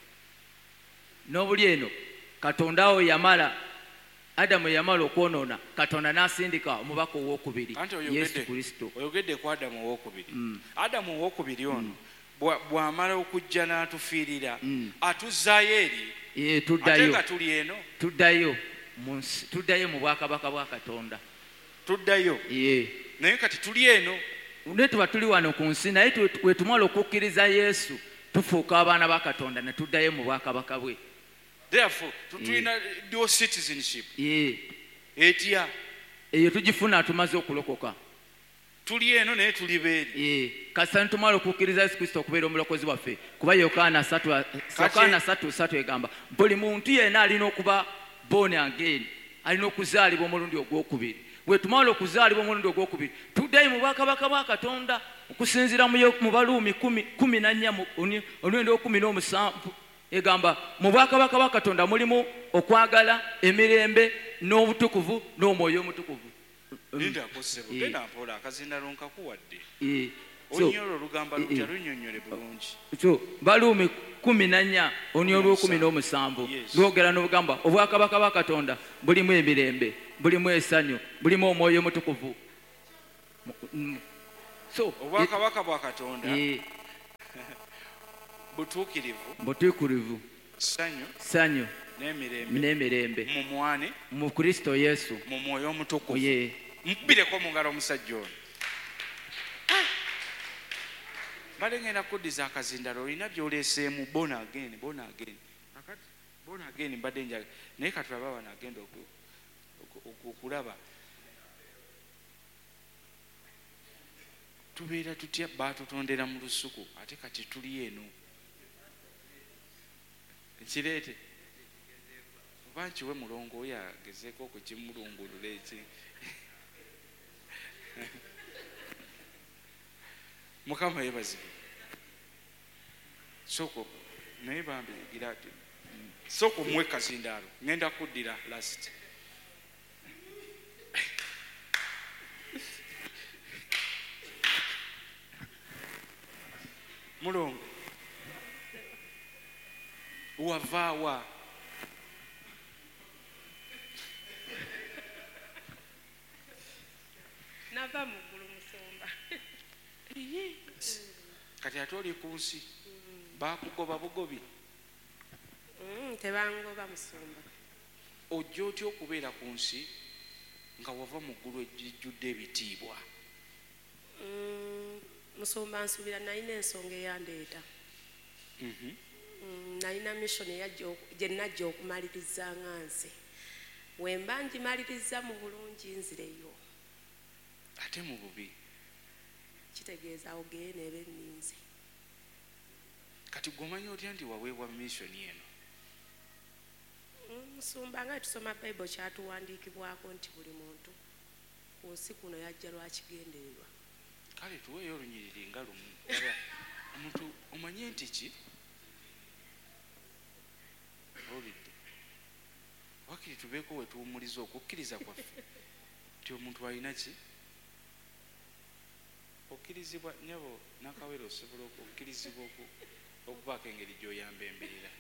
F: n'obuli eno. Katonda awo yamala, Adamu yamala okwonoona, Katonda n'asindika omubaka owokubiri,
A: Anti
F: Yesu
A: oyogedde
F: Kristo.
A: Oyogedde ku Adamu owokubiri. Adamu owokubiri ono bwa- bw'amala okujja n'atufiirira, atuzzaayo eri
F: Eh,
A: ate
F: tuddayo.
A: nga tuli eno?
F: Tuddayo mu nsi, tuddayo mu bwakabaka bwa Katonda.
A: Tuddayo?
F: Ye.
A: Naye kati tuli eno.
F: Naye tuba tuli wano ku nsi, naye tu- we tumala okukkiriza Yesu tufuuka abaana ba Katonda ne tuddayo mu bwakabaka bwe.
A: Therefore tu- tulina dual citizenship?
F: Ye.
A: Etya?
F: Eyo tugifuna tumaze okulokoka.
A: Tuli eno naye tuli beeri?
F: Ye. Kasita nitumala okukkiriza Yesu Kristo okubeera omulokozi waffe, kuba Yokaana satu Yokaana satu satu egamba buli muntu yenna alina okuba born again, alina okuzaalibwa omulundi ogwokubiri. Bwe tumala okuzaalibwa omulundi ogwokubiri tuddayo mu bwakabaka bwa Katonda, okusinziira mu Yo- mu Baluumi kumi kumi na nnya mu- oni- olundi olw'ekumi n'omusanvu egamba mu bwakabaka bwa Katonda mulimu okwagala, emirembe n'obutukuvu n'omwoyo omutukuvu,
A: Lindako ssebo,
F: Eh.
A: genda mpola akazindalo nkakuwadde.
F: Eh, so,
A: Olunyolo olugamba
F: Eh,
A: lutya
F: eh.
A: lunnyonnyole bulungi.
F: So Baluumi kumi na nnya olunyolo olw'okumi n'omusanvu
A: Yes.
F: lwogera n'obugamba obwakabaka bwa Katonda bulimu emirembe, bulimu essanyu, bulimu omwoyo omutukuvu. Mm. So
A: Obwakabaka bwa Katonda
F: eh,
A: butuukirivu,
F: butuukirivu,
A: ssanyu
F: ssanyu
A: n'emirembe
F: n'emirembe
A: mu mwane
F: mu Kristo Yesu.
A: mu mwoyo omutukuvu.
F: Ye.
A: Mukubireko mu ngalo omusajja ono. Mbadde ngenda kuddiza akazindalo, olina by'oleeseemu born again, born again. Kakati born again mbadde njaga naye katulabe bano agenda oku- oku- oku- okulaba tubeera tutya baatutondera mu lusuku ate kati tuli eno. Nkireete oba nkiwe mulongo oyo agezeeko okukimulungulula eki. Mukama yeebazibwe. Sooka naye bambi gira ati sooka omuwe kazindaalo ngenda kuddira last. Mulongo wavaawa?
E: Nava mu ggulu musumba.
A: Kati ate oli ku nsi baakugoba bugobi?
E: Mm, tebangoba musumba.
A: Ojja otya okubeera ku nsi nga wava mu ggulu ejjudde ebitiibwa?
E: Mm, musumba nsuubira nalina ensonga eyandeeta.
A: Mhm.
E: Mm, nalina mission eyajja oku- gye najja okumaliriza nga nze. We mba ngimaliriza mu bulungi nzireyo.
A: Ate mu bubi?
E: Kitegeeza awo geena eba enninze.
A: Kati gwe omanyi otya nti waweebwa mission eno?
E: Mm, musumba nga tusoma Bible kyatuwandiikibwako nti buli muntu ku nsi kuno yajja lwa kigendererwa.
A: Kale tuweeyo olunyiriri nga lumu. Laba, omuntu omanye nti ki? Owulidde? Waakiri tubeeko we tuwummuliza okukkiriza kwaffe nti omuntu alina ki? Okkirizibwa nnyabo Nakawere osobola okukkirizibwa oku-, okubaako engeri gy'oyamba embeera.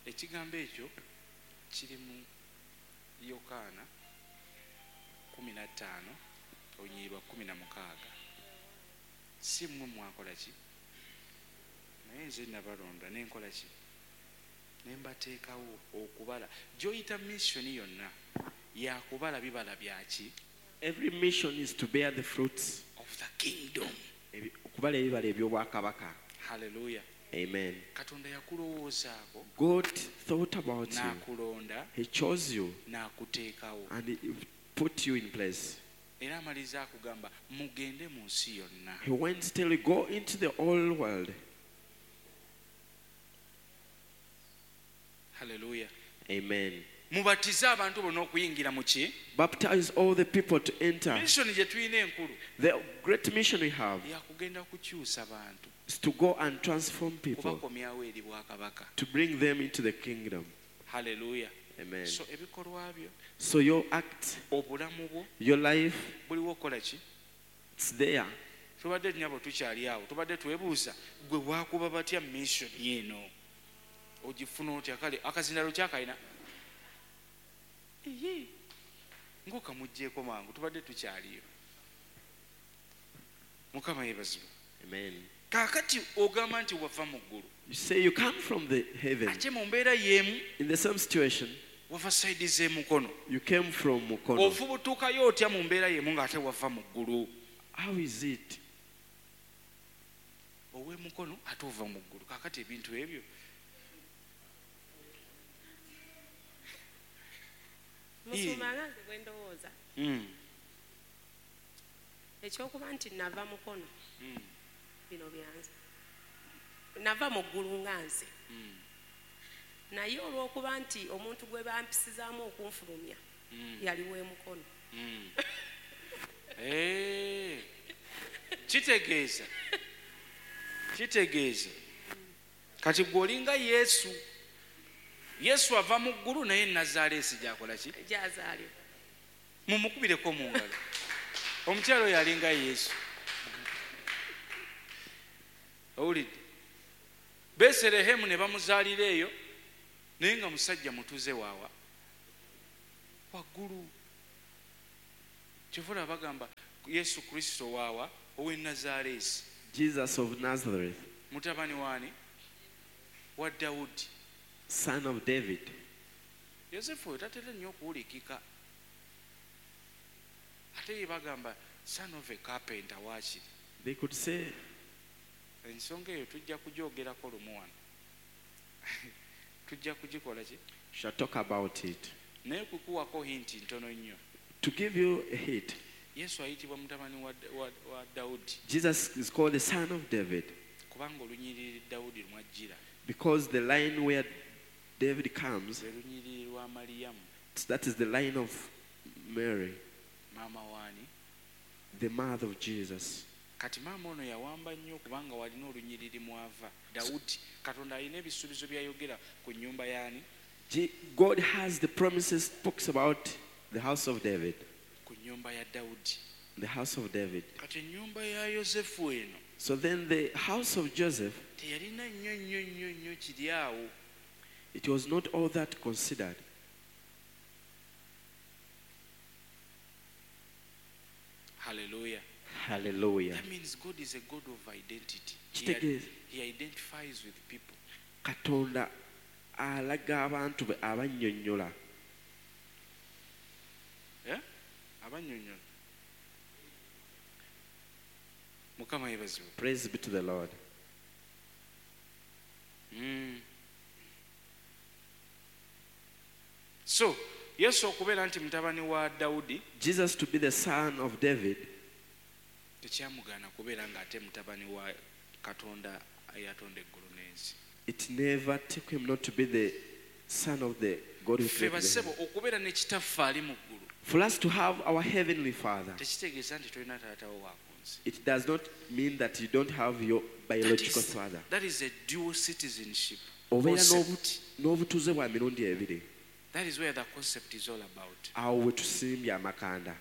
A: Ekigambo ekyo kiri mu Yokaana kkumi na ttaano olunyiriri lwa kkumi na mukaaga. Si mmwe mwakola ki? Naye nze nabalonda ne nkola ki? Ne mbateekawo okubala. Gy'oyita mission yonna yakubala bibala bya ki?
B: Every mission is to bear the fruits
A: of the kingdom.
B: Ebi-, okubala ebibala eby'obwakabaka.
A: Hallelujah.
B: Amen.
A: Katonda yakulowoozaako.
B: God thought about you.
A: N'akulonda.
B: He chose you.
A: N'akuteekawo.
B: And he put you in place.
A: Era amaliriza akugamba mugende mu nsi yonna.
B: He went till you go into the whole world.
A: Hallelujah.
B: Amen.
A: Mubatize abantu bonna okuyingira mu ki?
B: Baptize all the people to enter.
A: Mission gye tulina enkulu.
B: The great mission we have
A: yakugenda kukyusa bantu.
B: is to go and transform people.
A: Kubakomyawo eri bwakabaka.
B: To bring them into the kingdom.
A: Hallelujah.
B: Amen.
A: So ebikolwa byo,
B: So your act,
A: obulamu bwo,
B: your life,
A: buliwo okukola ki?
B: it's there.
A: Tubadde nnyabo tukyali awo, tubadde twebuuza gwe waakuba batya mission eno? Ogifuna otya? Kale akazindalo kyakalina. Iye. Ng'okamuggyeeko mangu, tubadde tukyaliyo. Mukama yeebazibwe.
B: Amen.
A: Kaakati ogamba nti wava mu ggulu.
B: You say you come from the heaven.
A: Ate mu mbeera y'emu,
B: In the same situation,
A: wava sayidi z'emukono.
B: You came from Mukono.
A: Ofubutukayo otya mu mbeera y'emu ng'ate wava mu ggulu?
B: How is it?
A: Ow'emukono ate ova mu ggulu. Kaakati ebintu ebyo.
E: Musumba nga nze bwe ndowooza.
A: Mm.
E: Ekyokuba nti nava Mukono.
A: Mm.
E: Bino byanze. Nava mu ggulu nga nze.
A: Mm.
E: Naye olw'okuba nti omuntu gwe bampisizaamu okunfulumya,
A: Mm.
E: yali w'emukono.
A: Mm. Eh. Kitegeeza. Kitegeeza. Kati gwe olinga Yesu. Yesu ava mu ggulu naye Nazaaleesi gy'akola ki?
E: Gy'azaalibwa.
A: Mumukubireko mu ngalo. Omukyala oyo alinga Yesu. Owulidde? Beserehemu ne bamuzaalira eyo naye nga musajja mutuze waawa waggulu. Kyova bagamba Yesu Kristo waawa ow'e Nazaaleesi.
B: Jesus of Nazareth.
A: Mutabani waani? Wa Dawudi.
B: Son of David.
A: Yosefu oyo tatera nnyo okuwulikika. Ate ye bagamba son of a carpenter waakiri.
B: They could say
A: ensonga eyo tujja kugyogerako lumu wano. Tujja kugikola ki?
B: Shall talk about it.
A: Naye kukuwako hinti ntono nnyo.
B: To give you a hint.
A: Yesu ayitibwa mutabani wa, wa, wa Dawudi.
B: Jesus is called the son of David.
A: Kubanga olunyiriri Dawudi lwajjira.
B: Because the line where David comes,
A: lwe lunyiriri lwa Mariyamu.
B: That is the line of Mary.
A: Maama waani?
B: The mother of Jesus.
A: Kati maama ono yawamba nnyo kubanga walina olunyiriri mwava. Dawudi, Katonda alina ebisuubizo by'ayogera ku nnyumba y'ani?
B: God has the promises, talks about the house of David.
A: Ku nnyumba ya Dawudi.
B: The house of David.
A: Kati ennyumba ya Yosefu eno.
B: So then the house of Joseph,
A: teyalina nnyo nnyo nnyo nnyo kiri awo.
B: It was not all that considered.
A: Hallelujah.
B: Hallelujah.
A: That means God is a God of identity. He, he identifies with people.
B: Katonda alaga abantu be abannyonnyola.
A: Eh? Abannyonnyola. Mukama yeebazibwe.
B: Praise be to the Lord.
A: Mm. So, Yesu okubeera nti mutabani wa Dawudi,
B: Jesus to be the son of David,
A: tekyamugaana kubeera ng'ate mutabani wa Katonda eyatonda eggulu n'ensi.
B: It never took him not to be the son of the God who
A: Ffe
B: created the
A: bassebo
B: heaven.
A: okubeera ne kitaffe ali mu ggulu
B: For us to have our heavenly Father,
A: tekitegeeza nti tolina taata wo wa ku nsi.
B: It does not mean that you don't have your biological
A: That is,
B: father.
A: that is a dual citizenship
B: Obeera
A: concept.
B: n'obutuuze bwa mirundi ebiri.
A: That is where the concept is all about.
B: Awo we tusimbye amakanda.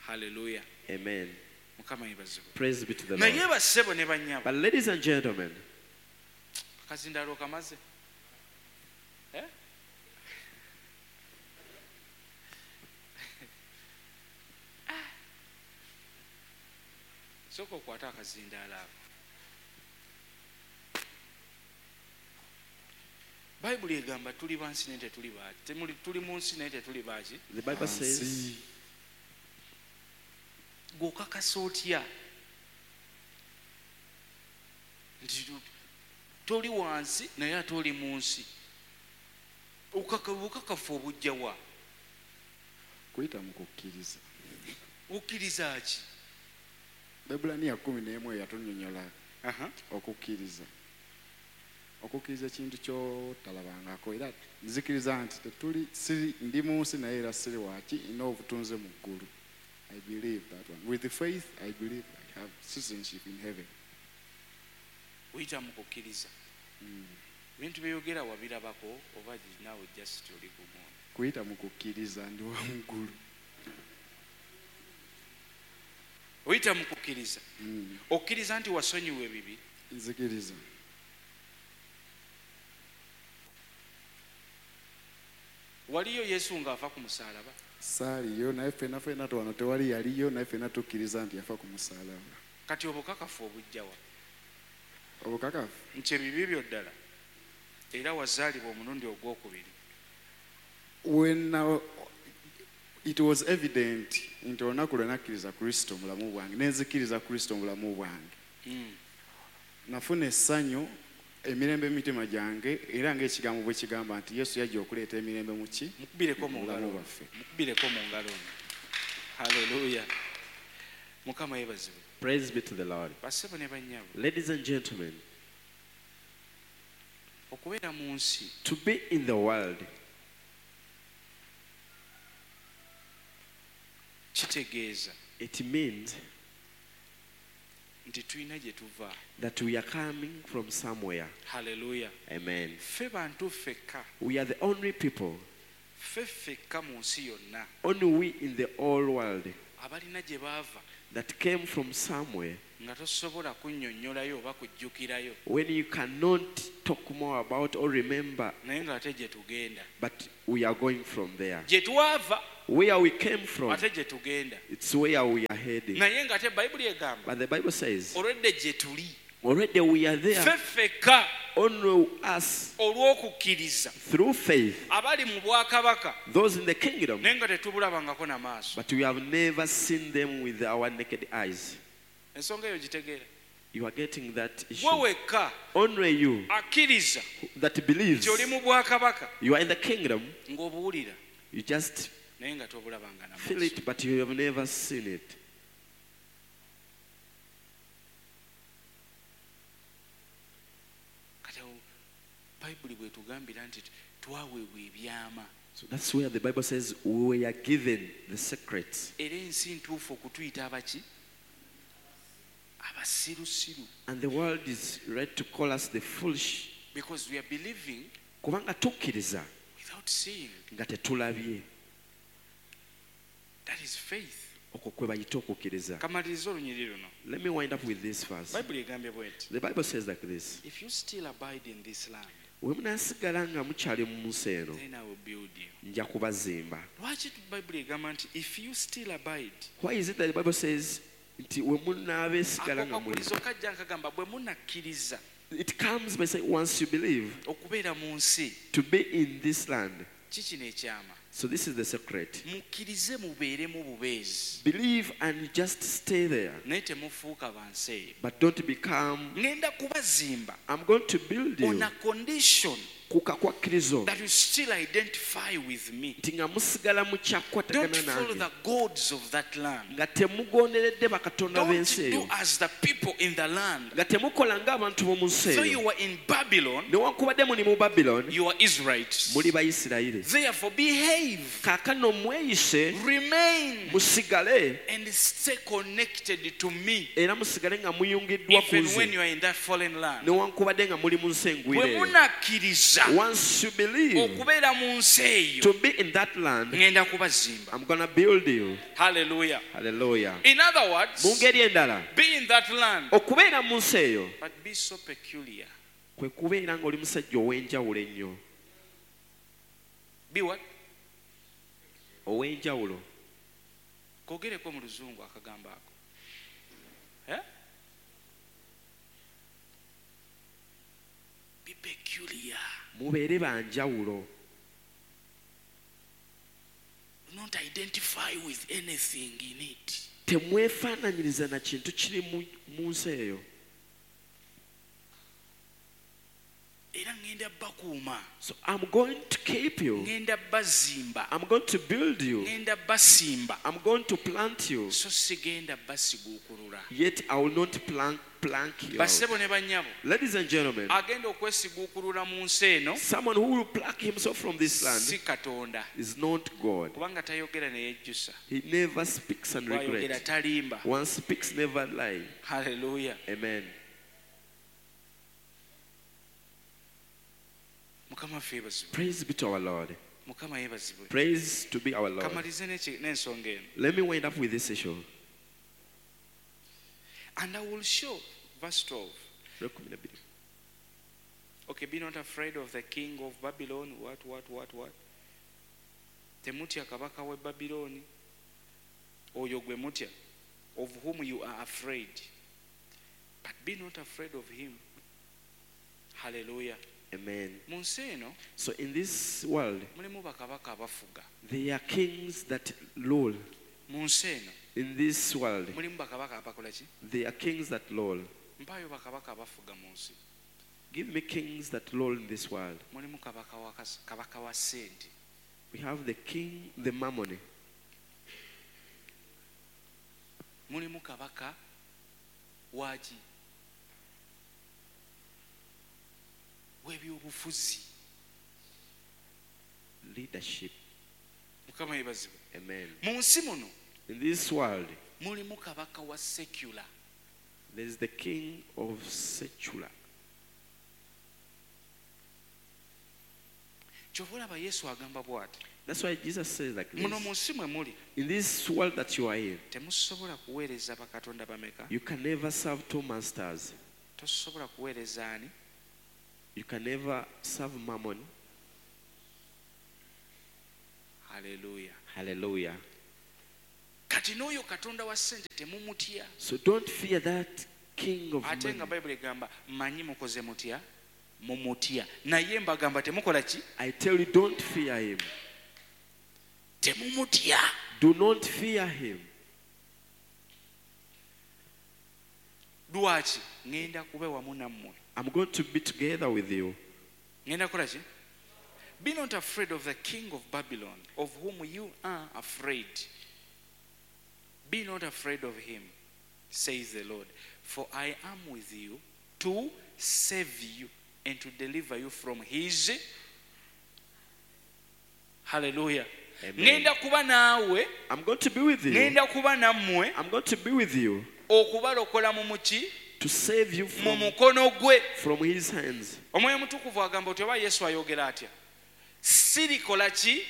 A: Hallelujah.
B: Amen.
A: Mukama yeebazibwe.
B: Praise be to the
A: Naye
B: Lord.
A: bassebo ne bannyabo.
B: But ladies and gentlemen,
A: Akazindaalo kamaze. Eh? Sooka okwate akazindaalo ako. Bayibuli egamba tuli ba nsi naye tetuli baaki. Temuli, tuli mu nsi naye tetuli baaki.
B: The Bible says,
A: Gw'okakasa otya nti toli wansi naye ate oli mu nsi? Okaka-, obukakafu obujja wa?
G: Kuyita mu kukkiriza.
A: Okkiriza ki?
G: Baebbulaniya kkumi n'emu eyatunnyonnyola
A: Aha.
G: okukkiriza. Okukkiriza ekintu ky'otalabangako, era nzikiriza nti tetuli, siri, ndi mu nsi naye era siri waaki, nina obutunze mu ggulu. I believe that one. With the faith, I believe I have citizenship in heaven.
A: Oyita mu kukkiriza.
G: Mm.
A: Ebintu by'oyogera wabirabako oba naawe just oli gumu?
G: Kuyita mu kukkiriza ndi wa mu ggulu.
A: Oyita mu kukkiriza.
G: Mm.
A: Okkiriza nti wasonyiwa ebibi?
G: Nzikiriza.
A: Waliyo Yesu ng'afa ku musaalaba?
G: Saaliyo, naye ffenna ffenna wano tewali yaliyo, naye ffenna tukkiriza nti yafa ku musaalaba.
A: Kati obukakafu obujja wa?
G: Obukakafu?
A: Nti ebibi byo ddala era wazaalibwa omulundi ogwokubiri.
G: When now, it was evident nti olunaku lwe nakkiriza Kristo mu bulamu bwange, ne nzikiriza Kristo mu bulamu bwange.
A: Mm.
G: Nafuna essanyu, emirembe mu mitima gyange, era ng'ekigambo bwe kigamba nti Yesu yajja okuleeta emirembe mu ki?
A: Mukubireko mu
G: Mu bulamu
A: ngalo.
G: bwaffe.
A: Mukubireko mu ngalo. Hallelujah. Mukama yeebazibwe.
B: Praise be to the Lord.
A: Bassebo ne bannyabo.
B: Ladies and gentlemen,
A: okubeera mu nsi,
B: to be in the world,
A: kitegeeza
B: it means
A: Nti tulina gye tuva.
B: That we are coming from somewhere.
A: Haleluya.
B: Amen.
A: Ffe bantu ffekka.
B: We are the only people,
A: Ffe ffekka mu nsi yonna
B: only we in the whole world,
A: abalina gye baava
B: that came from somewhere
A: nga tosobola kunnyonnyolayo oba kujjukirayo
B: when you cannot talk more about or remember,
A: naye ng'ate gye tugenda.
B: but we are going from there.
A: Gye twava
B: Where we came from,
A: ate gye tugenda.
B: it's where we are heading.
A: Naye ng'ate Bayibuli egamba
B: But the Bible says,
A: olwedde gye tuli
B: already we are there,
A: ffe ffekka
B: only us
A: olw'okukkiriza
B: through faith,
A: abali mu bwakabaka
B: those in the kingdom,
A: naye nga tetubulabangako na maaso.
B: but we have never seen them with our naked eyes.
A: Ensonga eyo gitegeera.
B: You are getting that
A: Gwe
B: issue.
A: wekka
B: Only you
A: akkiriza
B: that believes
A: nti oli mu bwakabaka
B: you are in the kingdom,
A: ng'obuwulira
B: you just
A: naye nga tobulabanga na
B: feel
A: maaso.
B: it, but you have never seen it.
A: Kati awo Bayibuli bw'etugambira nti twaweebwa ebyama.
B: So that's where the Bible says we are given the secrets.
A: Era ensi ntuufu okutuyita abaki? Abasirusiru.
B: And the world is right to call us the foolish.
A: Because we are believing
B: Kubanga tukkiriza
A: without seeing.
B: nga tetulabye.
A: That is faith.
B: Okwo kwe bayita okukkiriza.
A: Kamaliriza olunyiriri luno.
B: Let me wind up with this verse.
A: Bayibuli egambye bw'eti.
B: The Bible says like this.
A: If you still abide in this land,
B: Bwe munaasigala nga mukyali mu nsi eno,
A: then I will build you.
B: nja kubazimba.
A: Lwaki Bayibuli egamba nti if you still abide?
B: Why is it that the Bible says nti we munaabeesigala
A: Ako
B: nga muli?
A: kakulizo kajja nkagamba bwe munakkiriza
B: It comes by saying once you believe
A: okubeera mu nsi
B: to be in this land.
A: kikino ekyama.
B: So this is the secret.
A: Mukkirize mubeeremu bubeezi.
B: Believe and just stay there.
A: Naye temufuuka ba nsi eyo.
B: But don't become,
A: Ngenda kubazimba
B: I'm going to build
A: on
B: you
A: a condition
B: ku kakwakkirizo
A: that you still identify with me.
B: nti nga musigala
A: Don't
B: mukyakwatagana
A: follow
B: nange
A: the gods of that land.
B: nga temugonderedde bakatonda
A: Don't
B: b'ensi
A: do
B: eyo
A: as the people in the land.
B: nga temukola ng'abantu b'omu nsi
A: So
B: eyo
A: you were in Babylon,
B: newankubadde muli mu Babylon
A: you are Israelites.
B: muli Bayisirayiri
A: Therefore, behave,
B: kaakano mweyise
A: remain,
B: musigale
A: and stay connected to me.
B: era musigale nga muyungiddwa ku
A: Even when
B: nze
A: you are in that fallen land.
B: newankubadde nga muli mu nsi engwire
A: Bwe
B: eyo
A: munakkiriza
B: Once you believe
A: okubeera mu nsi eyo,
B: to be in that land,
A: ŋŋenda kubazimba.
B: I'm gonna build you.
A: Hallelujah.
B: Hallelujah.
A: In other words,
B: Mu ngeri endala
A: be in that land,
B: okubeera mu nsi eyo
A: but be so peculiar.
B: kwe kubeera ng'oli musajja ow'enjawulo ennyo
A: Be what?
B: ow'enjawulo
A: Kogereko mu luzungu akagambo ako. Eh? Be peculiar.
B: Mubeere banjawulo
A: Do not identify with anything in it.
B: Temwefaananyiriza na kintu kiri mu- mu nsi eyo
A: Era ŋŋenda bakuuma,
B: So I'm going to keep you,
A: ŋŋenda bazimba,
B: I'm going to build you,
A: ŋŋenda basimba,
B: I'm going to plant you,
A: so sigenda basiguukulula.
B: yet I will not plank, plank you out.
A: Bassebo ne bannyabo,
B: Ladies and gentlemen,
A: agenda okwesiguukulula mu nsi eno
B: someone who will pluck himself from this
A: si
B: land
A: Katonda,
B: is not God.
A: kubanga tayogera ne yejjusa.
B: He never speaks and
A: Bw'ayogera
B: regret.
A: talimba.
B: One speaks, never lie.
A: Haleluya.
B: Amen.
A: Mukama waffe yeebazibwe.
B: Praise be to our Lord.
A: Mukama yeebazibwe.
B: Praise to be our Lord.
A: Kamalirize n'eki- n'ensonga eno.
B: Let me wind up with this issue.
A: And I will show, verse twelve. Okay, be not afraid of the king of Babylon. What, what, what, what? Temutya kabaka w'e Babylooni. Oyo gwe mutya, of whom you are afraid. But be not afraid of him. Hallelujah.
B: Amen.
A: Mu nsi eno
B: So in this world,
A: mulimu bakabaka abafuga.
B: there are kings that rule.
A: Mu nsi eno
B: In this world,
A: mulimu bakabaka abakola ki?
B: there are kings that rule.
A: Mpaayo bakabaka abafuga mu nsi.
B: Give me kings that rule in this world.
A: Mulimu kabaka wa kas- kabaka wa ssente.
B: We have the king, the mammon.
A: Mulimu kabaka waki? W'ebyobufuzi.
B: Leadership.
A: Mukama yeebazibwe.
B: Amen.
A: Mu nsi muno
B: In this world,
A: mulimu kabaka wa secular.
B: There is the king of secular.
A: Kyova olaba Yesu agamba bw'ati.
B: That's why Jesus says like
A: Muno mu
B: this.
A: nsi mwe muli
B: In this world that you are in,
A: temusobola kuweereza bakatonda bameka?
B: you can never serve two masters.
A: Tosobola kuweereza ani?
B: You can never serve mammon.
A: Haleluya.
B: Hallelujah.
A: Kati n'oyo katonda wa ssente temumutya.
B: So don't fear that king of
A: Ate nga
B: money.
A: Bayibuli egamba manyi mukoze mutya mumutya naye mbagamba temukola ki?
B: I tell you, don't fear him.
A: Temumutya.
B: Do not fear him.
A: Lwaki? Ŋŋenda kuba wamu nammwe.
B: I'm going to be together with you.
A: Ŋŋenda kukola ki? Be not afraid of the king of Babylon, of whom you are afraid. Be not afraid of him, says the Lord, for I am with you to save you and to deliver you from his. Hallelujah.
B: Amen.
A: Ŋŋenda kuba naawe,
B: I'm going to be with you.
A: ŋŋenda kuba nammwe
B: I'm going to be with you
A: okubalokola mu muki
B: to save you
A: mu
B: from,
A: mukono gwe.
B: from his hands.
A: Omwoyo Omutukuvu agamba oti oba Yesu ayogera atya? Sirikola ki?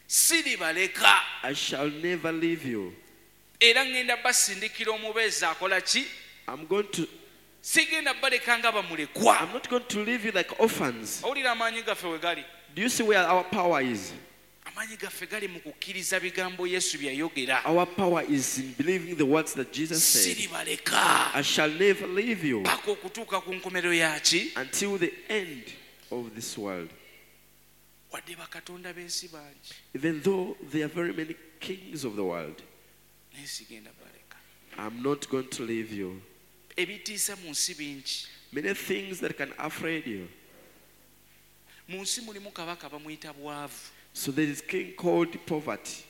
A: Siribaleka.
B: I shall never leave you.
A: Era ŋŋenda basindikira omubeezi akola ki?
B: I'm going to
A: Sigenda baleka nga bamulekwa.
B: I'm not going to leave you like orphans.
A: Owulira amaanyi gaffe we gali?
B: Do you see where our power is?
A: Amaanyi gaffe gali mu kukkiriza bigambo Yesu bye yayogera.
B: Our power is in believing the words that Jesus said.
A: Siribaleka
B: I shall never leave you
A: paka okutuuka ku nkomerero yaki.
B: until the end of this world.
A: Wadde bakatonda b'ensi bangi,
B: Even though there are very many kings of the world,
A: naye sigenda baleka.
B: I'm not going to leave you.
A: Ebitiisa mu nsi bingi.
B: Many things that can afraid you.
A: Mu nsi mulimu kabaka bamuyita bwavu.
B: So there is king called poverty,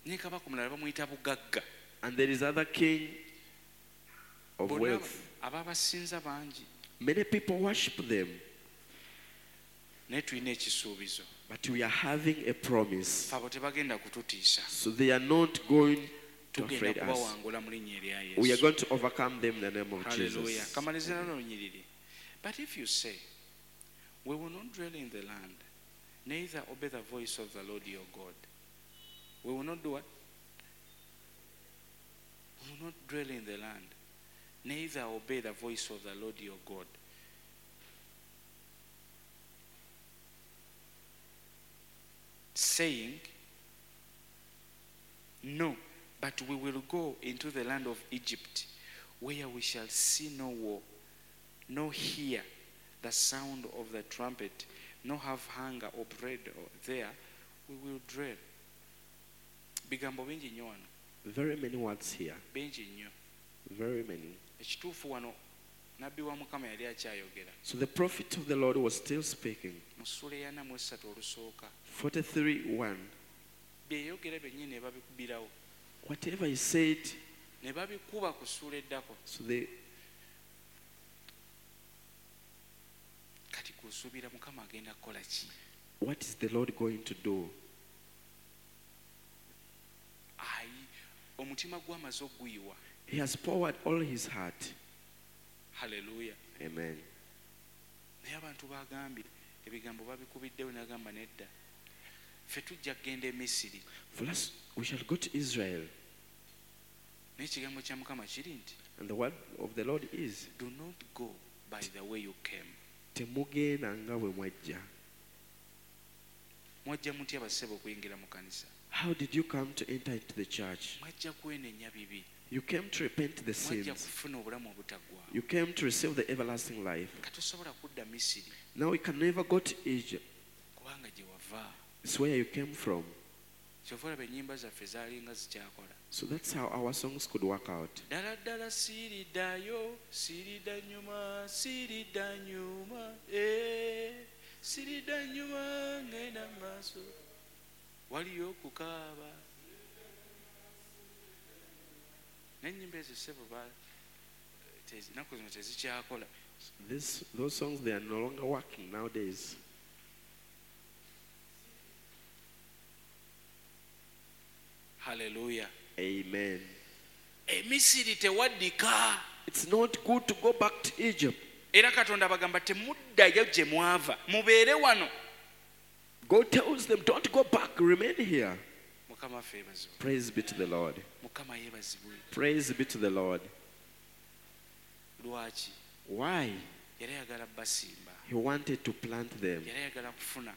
A: Ne kabaka omulala bamuyita bugagga.
B: and there is other king of
A: Bonna
B: wealth.
A: ababasinza bangi,
B: Many people worship them,
A: naye tulina ekisuubizo.
B: but we are having a promise.
A: Ffe abo tebagenda kututiisa.
B: So they are not going to
A: Tugenda
B: afraid us.
A: kubawangula mu linnya erya
B: We are
A: Yesu.
B: going to overcome them in the name of
A: Hallelujah.
B: Jesus.
A: Kamaliza nalo lunyiriri. But if you say, we will not dwell in the land, neither obey the voice of the Lord your God. We will not do what? We will not dwell in the land, neither obey the voice of the Lord your God. Saying, no, but we will go into the land of Egypt, where we shall see no war, nor hear the sound of the trumpet, nor have hunger or bread or there, we will dwell. Bigambo bingi nnyo wano,
B: Very many words here.
A: bingi nnyo.
B: Very many.
A: Ekituufu wano nabbi wa Mukama yali akyayogera
B: So the prophet of the Lord was still speaking.
A: mu ssuula ey'ana mu essatu olusooka.
B: forty-three one.
A: Bye yayogera byennyini ne babikubirawo,
B: Whatever he said,
A: ne babikuba ku ssuula eddako.
B: so they
A: Kati gw'osuubira Mukama agenda kukola ki?
B: what is the Lord going to do?
A: Ayi, omutima gw'amaze okuguyiwa.
B: He has poured all his heart.
A: Haleluya.
B: Amen.
A: Naye abantu bagambye ebigambo babikubiddewo n'agamba nedda, ffe tujja kugenda e Misiri.
B: For us, we shall go to Israel.
A: Naye ekigambo kya Mukama kiri nti
B: And the word of the Lord is,
A: do not go by the way you came.
B: temugenda nga bwe mwajja.
A: Mwajja mutya bassebo okuyingira mu kanisa?
B: How did you come to enter into the church?
A: Mwajja kwenenya bibi,
B: You came to repent the
A: mwajja
B: sins.
A: kufuna obulamu obutaggwaawo.
B: You came to receive the everlasting life.
A: Katosobola kudda Misiri
B: Now you can never go to Egypt.
A: kubanga gye wava.
B: It's where you came from.
A: Kyova olaba ennyimba zaffe zaalinga zikyakola.
B: So that's how our songs could work out.
A: Ddala ddala siriddayo, siridda nnyuma, siridda nnyuma, eh, siridda nnyuma ŋŋenda mu maaso. Waliyo okukaaba. N'ennyimba ezo ssebo ba- tezi- ennaku zino tezikyakola.
B: This, those songs, they are no longer working nowadays.
A: Hallelujah.
B: Amen.
A: Emisiri tewaddika.
B: It's not good to go back to Egypt.
A: Era Katonda abagamba temuddayo gye mwava, mubeere wano.
B: God tells them, don't go back, remain here.
A: Mukama waffe yeebazibwe.
B: Praise be to the Lord.
A: Mukama yeebazibwe.
B: Praise be to the Lord.
A: Lwaki?
B: Why?
A: Yali ayagala basimba.
B: He wanted to plant them.
A: Yali ayagala kufuna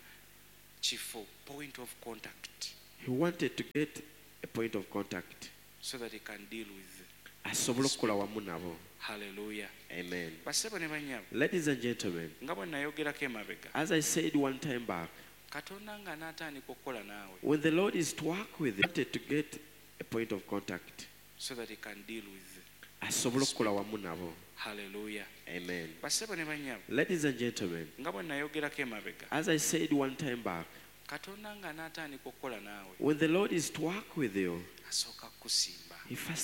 A: kifo, point of contact,
B: He wanted to get a point of contact.
A: So that he can deal with.
B: Asobole okukola wamu nabo.
A: Haleluya.
B: Amen.
A: Basebo ne bannyabo,
B: Ladies and gentlemen,
A: nga bwe nayogerako emabega,
B: as I said one time back,
A: Katonda nga anaatandika okukola naawe,
B: when the Lord is to work with you, he wanted to get a point of contact.
A: So that he can deal with.
B: Asobole okukola wamu nabo.
A: Haleluya.
B: Amen.
A: Basebo ne bannyabo,
B: Ladies and gentlemen,
A: nga bwe nayogerako emabega,
B: as I said one time back,
A: Katonda nga anaatandika okukola naawe,
B: when the Lord is to work with you,
A: asooka kukusimba.
B: He first